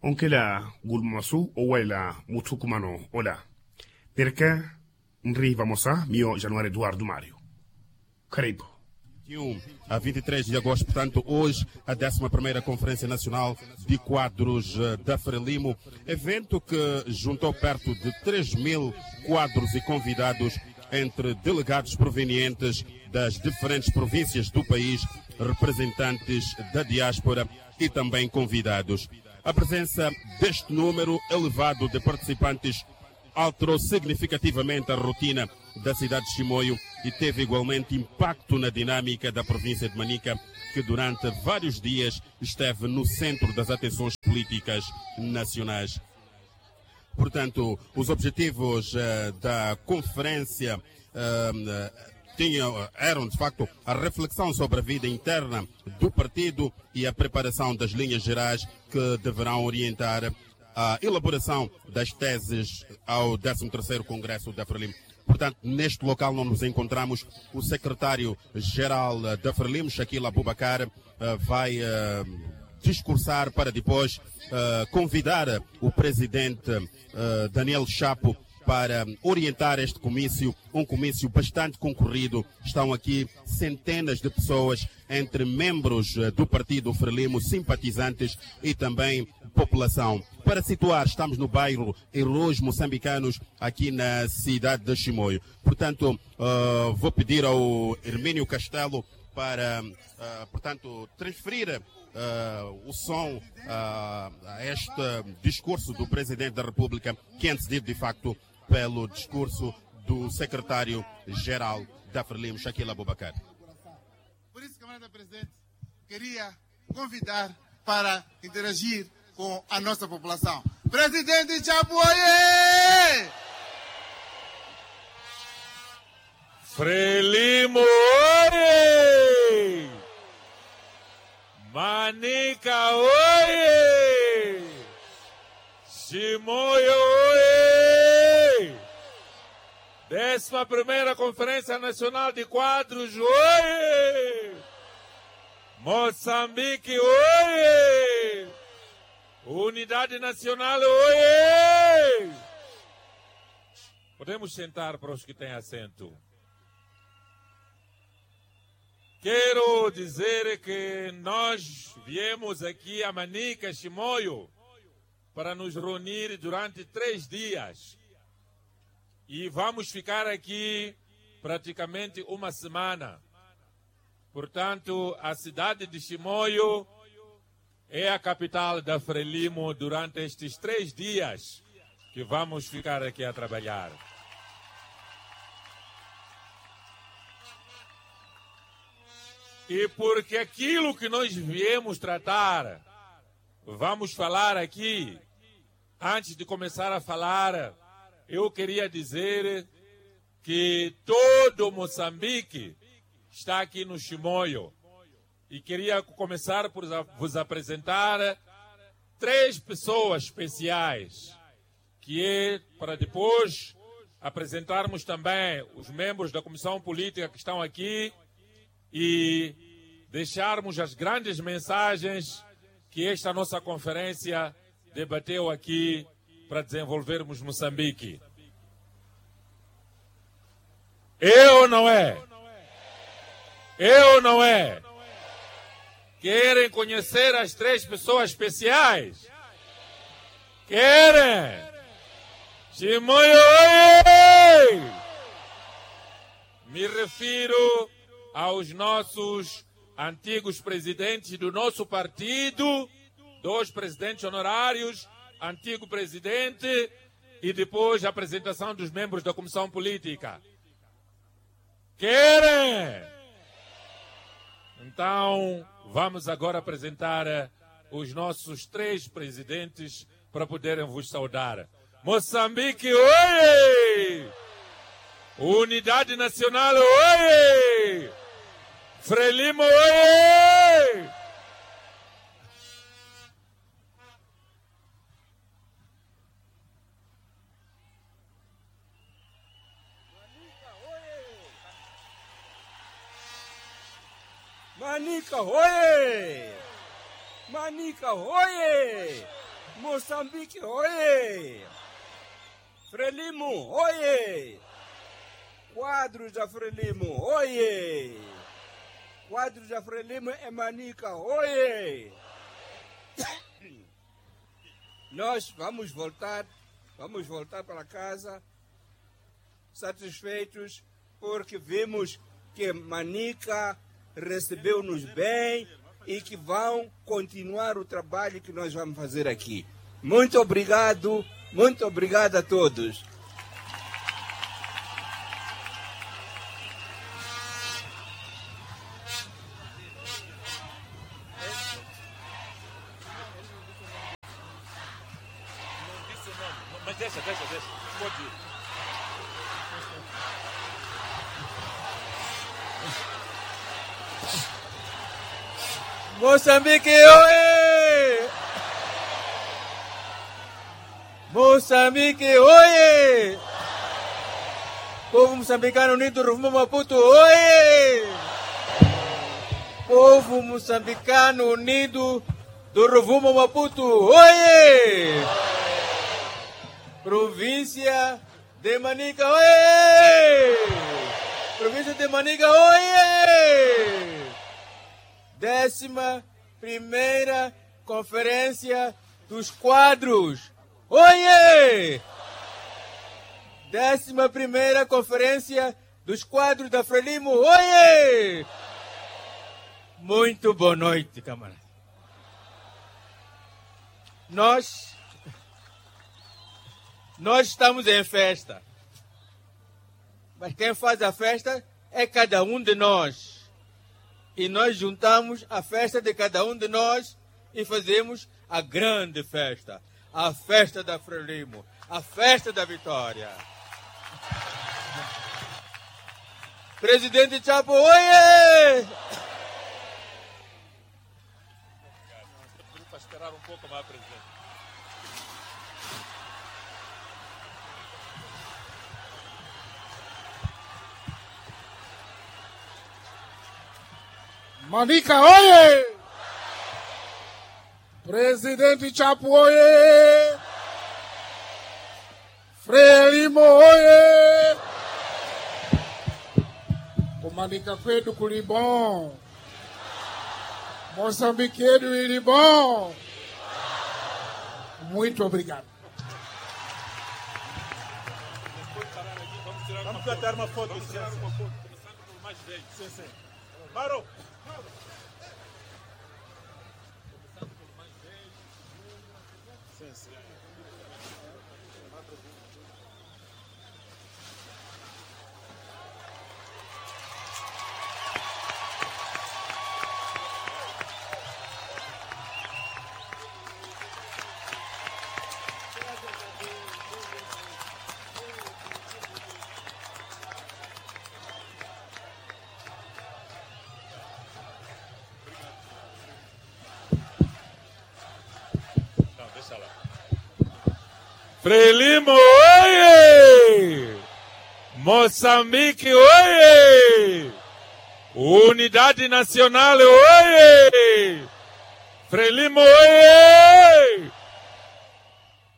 onkela guluma masu owalela muthukumano ola. Nireke nri vamosa miyo januari eduardo mario. Karibu. A vinte e três de agosto, portanto, hoje, a décima primeira Conferência Nacional de Quadros, eh, da Frelimo, evento que juntou perto de três mil quadros e convidados entre delegados provenientes das diferentes províncias do país, representantes da diáspora e também convidados. A presença deste número elevado de participantes alterou significativamente a rotina da cidade de Chimoio e teve igualmente impacto na dinâmica da província de Manica, que durante vários dias esteve no centro das atenções políticas nacionais. Portanto, os objetivos, eh, da conferência, eh, tinham, eram, de facto, a reflexão sobre a vida interna do partido e a preparação das linhas gerais que deverão orientar a elaboração das teses ao décimo terceiro Congresso da Frelimo. Portanto, neste local onde nos encontramos, o secretário-geral, eh, da Frelimo, Shakil Abubakar, eh, vai, eh, discursar para depois, eh, convidar o presidente, eh, Daniel Chapo para orientar este comício, um comício bastante concorrido. Estão aqui centenas de pessoas, entre membros, eh, do partido Frelimo, simpatizantes e também população. Para situar, estamos no bairro Heróis Moçambicanos, aqui na cidade de Chimoio. Portanto, eh, vou pedir ao Hermínio Castelo para, eh, portanto, transferir, eh, o som, eh, a este discurso do Presidente da República, que é antecedido, de facto, pelo discurso do secretário-geral da Frelimo, Shakil Abubakar. Por isso, camarada presidente, queria convidar para interagir com a nossa população. Presidente Chapo, oiê! Frelimo, oiê! Manica, oiê! Chimoio, oiê! Décima primeira Conferência Nacional de Quadros, oiê! Moçambique, oiê! Unidade Nacional, oiê! Podemos sentar para os que têm assento. Quero dizer que nós viemos aqui a Manica, Chimoio, para nos reunir durante três dias. E vamos ficar aqui praticamente uma semana. Portanto, a cidade de Chimoio é a capital da Frelimo durante estes três dias que vamos ficar aqui a trabalhar. E porque aquilo que nós viemos tratar, vamos falar aqui, antes de começar a falar, eu queria dizer que todo Moçambique está aqui no Chimoio. E queria começar por vos apresentar três pessoas especiais, que é para depois apresentarmos também os membros da Comissão Política que estão aqui e deixarmos as grandes mensagens que esta nossa conferência debateu aqui para desenvolvermos Moçambique. É ou não é? É ou não é? Querem conhecer as três pessoas especiais? Querem? Chimoio, oiê! Me refiro aos nossos antigos presidentes do nosso partido, dois presidentes honorários, antigo presidente, e depois a apresentação dos membros da Comissão Política. Querem? Então, vamos agora apresentar, eh, os nossos três presidentes para poderem vos saudar. Moçambique, oiê! Unidade Nacional, oiê! Frelimo, oiê! Manika hoye. Manika hoye. Mosambiki hoye. Frelimo hoye. Quadros da frelimo hoye. Quadros da frelimo e manika hoye. Nós vamos voltar, vamos voltar para casa satisfeitos, porque vimos que manika recebeu-nos bem e que vão continuar o trabalho que nós vamos fazer aqui. Muito obrigado, muito obrigado a todos. Mosambiki oye! Mosambiki oye! Povu musambikano unidu ruvumo maputu oye! Povu musambikano unidu do ruvumo maputu oye! Provincia de manika oye! Provincia de manika oye! Décima primeira conferencia dos quadros oye! Décima primeira conferencia dos quadros da frelimo oye! Muito boa noite, camarada. Nós nós estamos em festa. Mas quem faz a festa é cada um de nós. E nós juntamos a festa de cada um de nós e fazemos a grande festa, a festa da frelimo, a festa da vitória. Presidente chapo oye! Manika oye! Presidenti chapu oye! Frelimo oye! Kumanika kwedu kuli bon. Mosambiki yedu ili bon. Muito obrigado. Vamos tirar uma foto. Vamos tirar uma foto. Começando pelo mais velho. Sim, sim. Maro. Sim, sim. Frelimo oye! Mosambiki oye! Unidadi nasionali oye! Frelimo oye!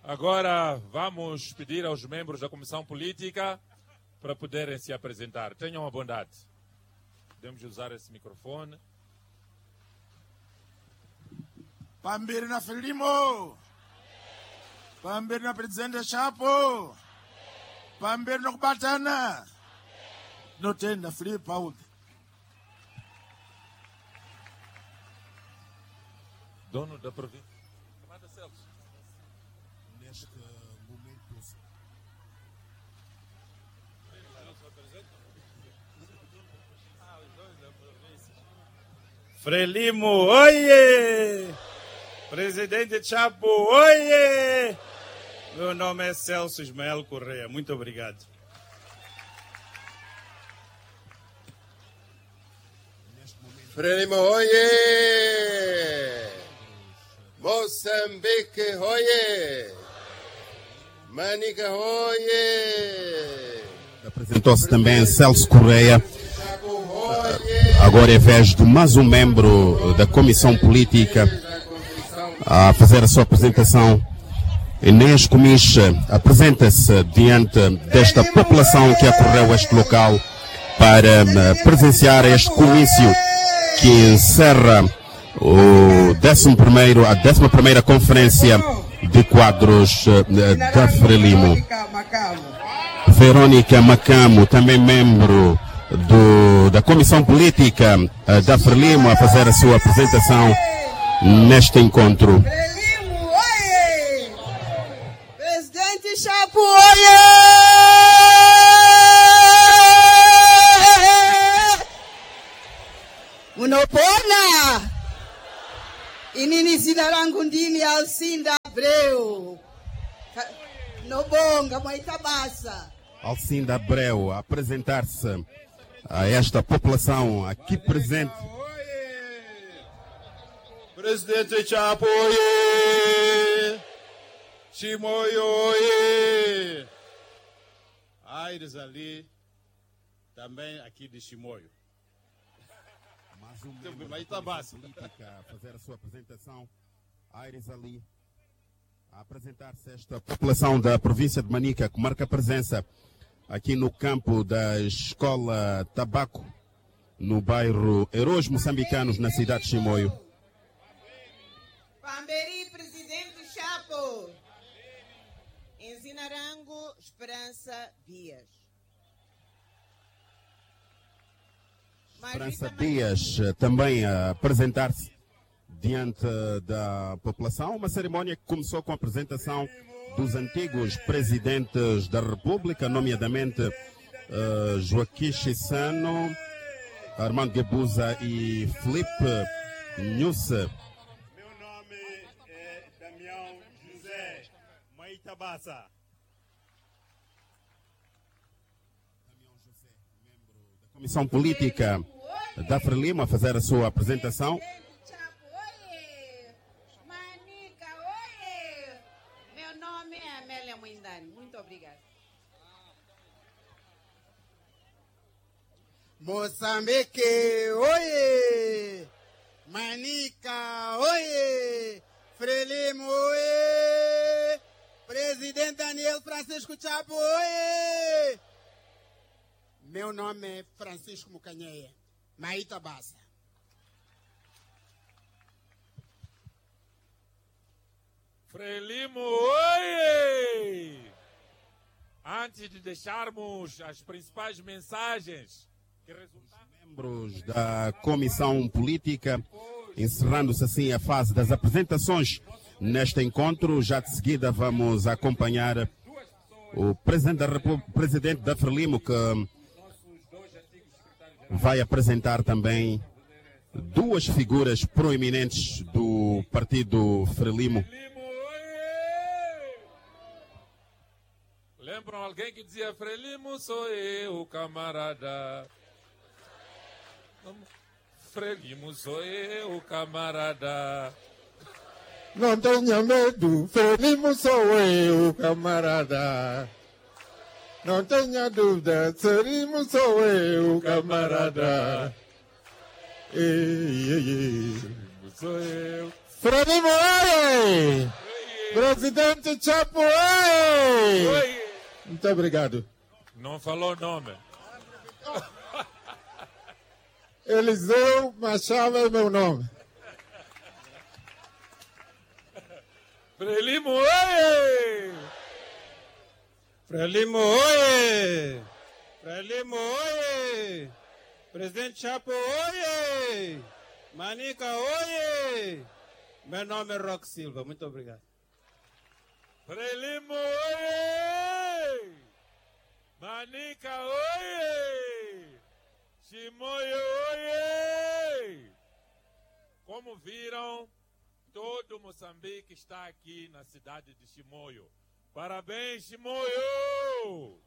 Agora vamos pedir aos membros da comissão política para poderem se apresentar. Tenham a bondade. Podemos usar esse microfone. Pambiri na filimo. Pambiri na prezidente chapo. Pambiri na kubatana. Notenda filipa undi. Dono da província. Kamata selso. Neste momento. Frelimo oye! Prezidenti chapu oye! Meu nome é celso ismael correia muito obrigado. Frelimo hoye. Mosambiki hoye. Manika hoye. Apresentou-se também celso correia. Agora é vez de mais um membro da Comissão Política a fazer a sua apresentação. Enéas Kumixe apresenta-se diante desta população que acorreu este local para, eh, presenciar este comício que encerra o décimo primeiro, a décima primeira Conferência de Quadros, eh, da Frelimo. Verónica Macamo, também membro do, da Comissão Política, eh, da Frelimo, a fazer a sua apresentação neste encontro. Frelimo, oiê! Presidente Chapo, oiê! Munopona? Ini ni zina langu ndini Alcinda Abreu. Ka-, nobonga, mwaita basa. Alcinda Abreu a apresentar-se a esta população aqui presente. Presidente Chapo, oiê! Chimoio, oiê! Aires ali, também aqui de Chimoio. Mais um membro da Comissão Política a fazer a sua apresentação. Aires ali a apresentar-se esta população da província de Manica, que marca presença aqui no campo da Escola Tabaco, no bairro Heróis Moçambicanos, na cidade de Chimoio. Pamberi, Presidente Chapo. Em zina rangu, Esperança Dias. Esperança Dias, eh, também a apresentar-se diante da população. Uma cerimónia que começou com a apresentação dos antigos presidentes da República, nomeadamente, eh, Joaquim Chissano, Armando Guebuza e Filipe Nyusi. Meu nome é Damião José. Mwaita basa. Comissão Política da Frelimo a fazer a sua apresentação. Manica, oiê! Meu nome é Amélia Mwindani. Muito obrigada. Moçambique, oiê! Manica, oiê! Frelimo, oiê! Presidente Daniel Francisco Chapo, oiê! Meu nome é Francisco Mukanyeya. Mwaita basa. Frelimo, oiê! Antes de deixarmos as principais mensagens que resultaram membros da Comissão Política, encerrando-se assim a fase das apresentações neste encontro. Já de seguida vamos acompanhar o Presidente da República, Presidente da Frelimo, que vai apresentar também duas figuras proeminentes do partido Frelimo. Lembram alguém que dizia: "Frelimo sou eu, camarada"? Vamos. Frelimo sou eu, camarada. Não tenha medo, Frelimo sou eu, camarada. Não tenha dúvida, Frelimo sou eu, camarada. Ei, ei, ei. Frelimo sou eu. Frelimo, ei! Ei, ei. Presidente Chapo, ei! Oi. Muito obrigado. Não falou nome. Eliseu Machado é meu nome. Frelimo oye! Frelimo oye! Frelimo oye! Presidente Chapo oye! Manica oye! Meu nome é Roque Silva. Muito obrigado. Frelimo oye! Manica oye! Chimoio oye! Como viram, todo Moçambique está aqui na cidade de Chimoio. Parabéns, Chimoio!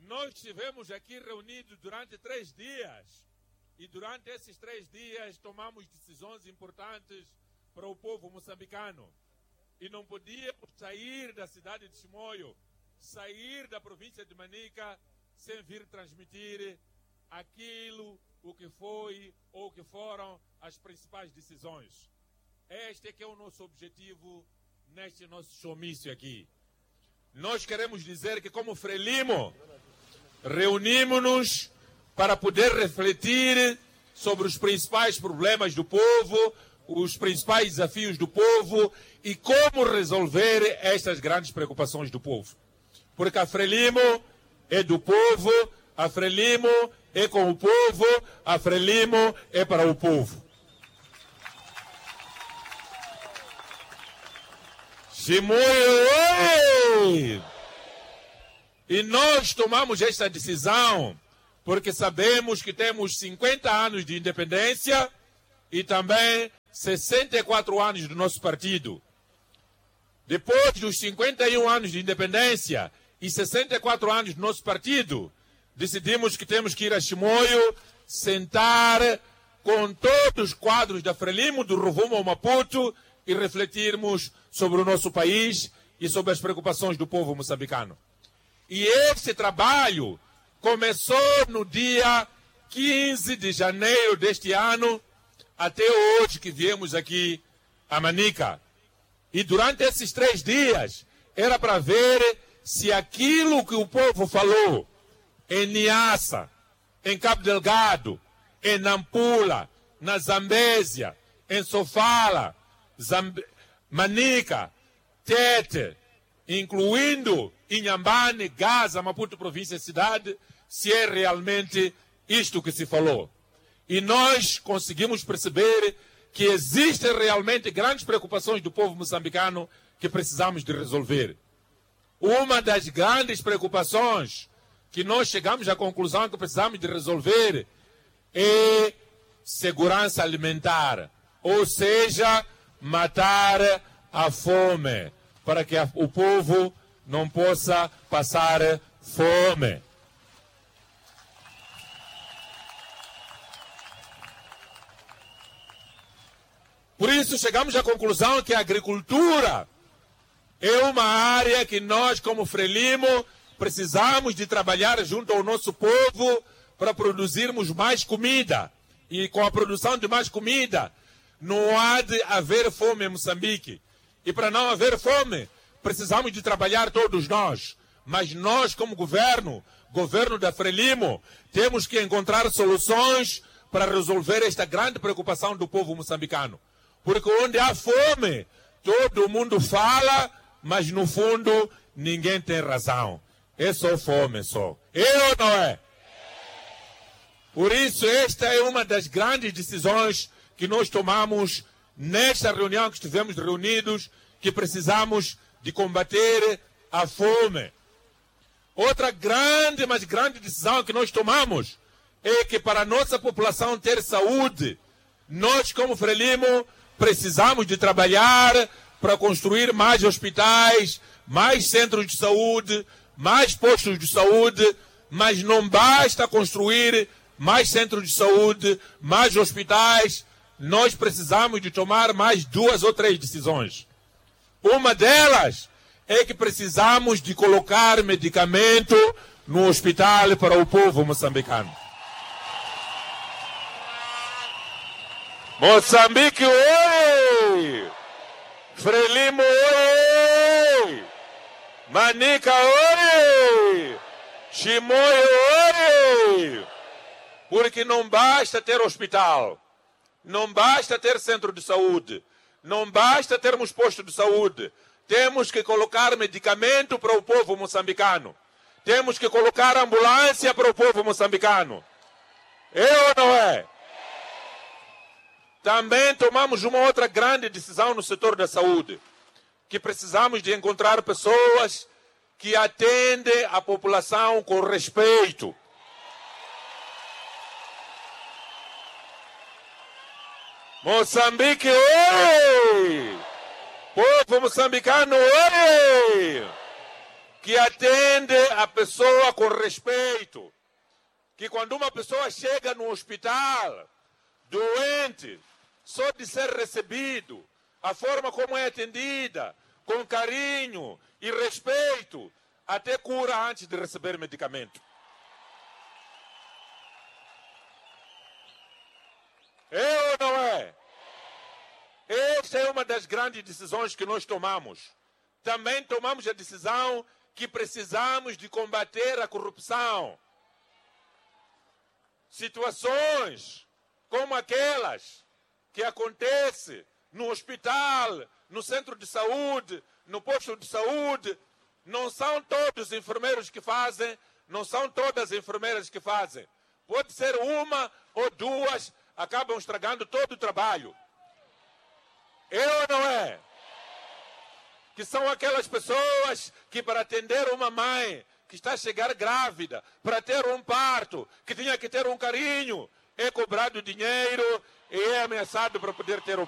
Nós estivemos aqui reunidos durante três dias. E durante esses três dias tomamos decisões importantes para o povo moçambicano. E não podíamos sair da cidade de Chimoio, sair da província de Manica, sem vir transmitir aquilo o que foi ou que foram as principais decisões. Este é que é o nosso objetivo neste nosso showmício aqui. Nós queremos dizer que, como Frelimo, reunimos-nos para poder refletir sobre os principais problemas do povo, os principais desafios do povo e como resolver estas grandes preocupações do povo. Porque a Frelimo é do povo, a Frelimo é com o povo, a Frelimo é para o povo. Chimoio, oi! E nós tomamos esta decisão porque sabemos que temos cinquenta anos de independência e também sessenta e quatro anos do nosso partido. Depois dos cinquenta e um anos de independência e sessenta e quatro anos do nosso partido, decidimos que temos que ir a Chimoio, sentar com todos os quadros da Frelimo, do Rovuma ao Maputo, e refletirmos sobre o nosso país e sobre as preocupações do povo moçambicano. E esse trabalho começou no dia quinze de janeiro deste ano, até hoje que viemos aqui a Manica. E durante esses três dias, era para ver se aquilo que o povo falou em Niassa, em Cabo Delgado, em Nampula, na Zambézia, em Sofala, Zamb-, Manica, Tete, incluindo Inhambane, Gaza, Maputo, província e cidade, se é realmente isto que se falou. E nós conseguimos perceber que existem realmente grandes preocupações do povo moçambicano que precisamos de resolver. Uma das grandes preocupações que nós chegamos à conclusão que precisamos de resolver é segurança alimentar, ou seja, matar a fome, para que a, o povo não possa passar fome. Por isso, chegamos à conclusão que a agricultura é uma área que nós, como Frelimo, precisamos de trabalhar junto ao nosso povo para produzirmos mais comida. E com a produção de mais comida, não há de haver fome em Moçambique. E para não haver fome, precisamos de trabalhar todos nós. Mas nós, como governo, governo da Frelimo, temos que encontrar soluções para resolver esta grande preocupação do povo moçambicano. Porque onde há fome, todo mundo fala, mas no fundo ninguém tem razão. É só fome, só. É ou não é? Por isso, esta é uma das grandes decisões que nós tomamos nesta reunião que estivemos reunidos, que precisamos de combater a fome. Outra grande, mas grande decisão que nós tomamos é que para a nossa população ter saúde, nós, como Frelimo, precisamos de trabalhar para construir mais hospitais, mais centros de saúde, mais postos de saúde, mas não basta construir mais centros de saúde, mais hospitais, nós precisamos de tomar mais duas ou três decisões. Uma delas é que precisamos de colocar medicamento no hospital para o povo moçambicano. Moçambique, oi! Frelimo, oi! Manica, oi! Chimoio, oi! Porque não basta ter hospital. Não basta ter centro de saúde, não basta termos posto de saúde, temos que colocar medicamento para o povo moçambicano, temos que colocar ambulância para o povo moçambicano. É ou não é? Também tomamos uma outra grande decisão no setor da saúde, que precisamos de encontrar pessoas que atendem a população com respeito. Moçambique, oi! Povo moçambicano, oi! Que atende a pessoa com respeito. Que quando uma pessoa chega no hospital doente, só de ser recebido, a forma como é atendida, com carinho e respeito, até cura antes de receber medicamento. É ou não é? Esta é uma das grandes decisões que nós tomamos. Também tomamos a decisão que precisamos de combater a corrupção. Situações como aquelas que acontecem no hospital, no centro de saúde, no posto de saúde, não são todos os enfermeiros que fazem, não são todas as enfermeiras que fazem. Pode ser uma ou duas, acabam estragando todo o trabalho. É ou não é? Que são aquelas pessoas que, para atender uma mãe que está a chegar grávida, para ter um parto, que tinha que ter um carinho, é cobrado dinheiro e é ameaçado para poder ter o parto.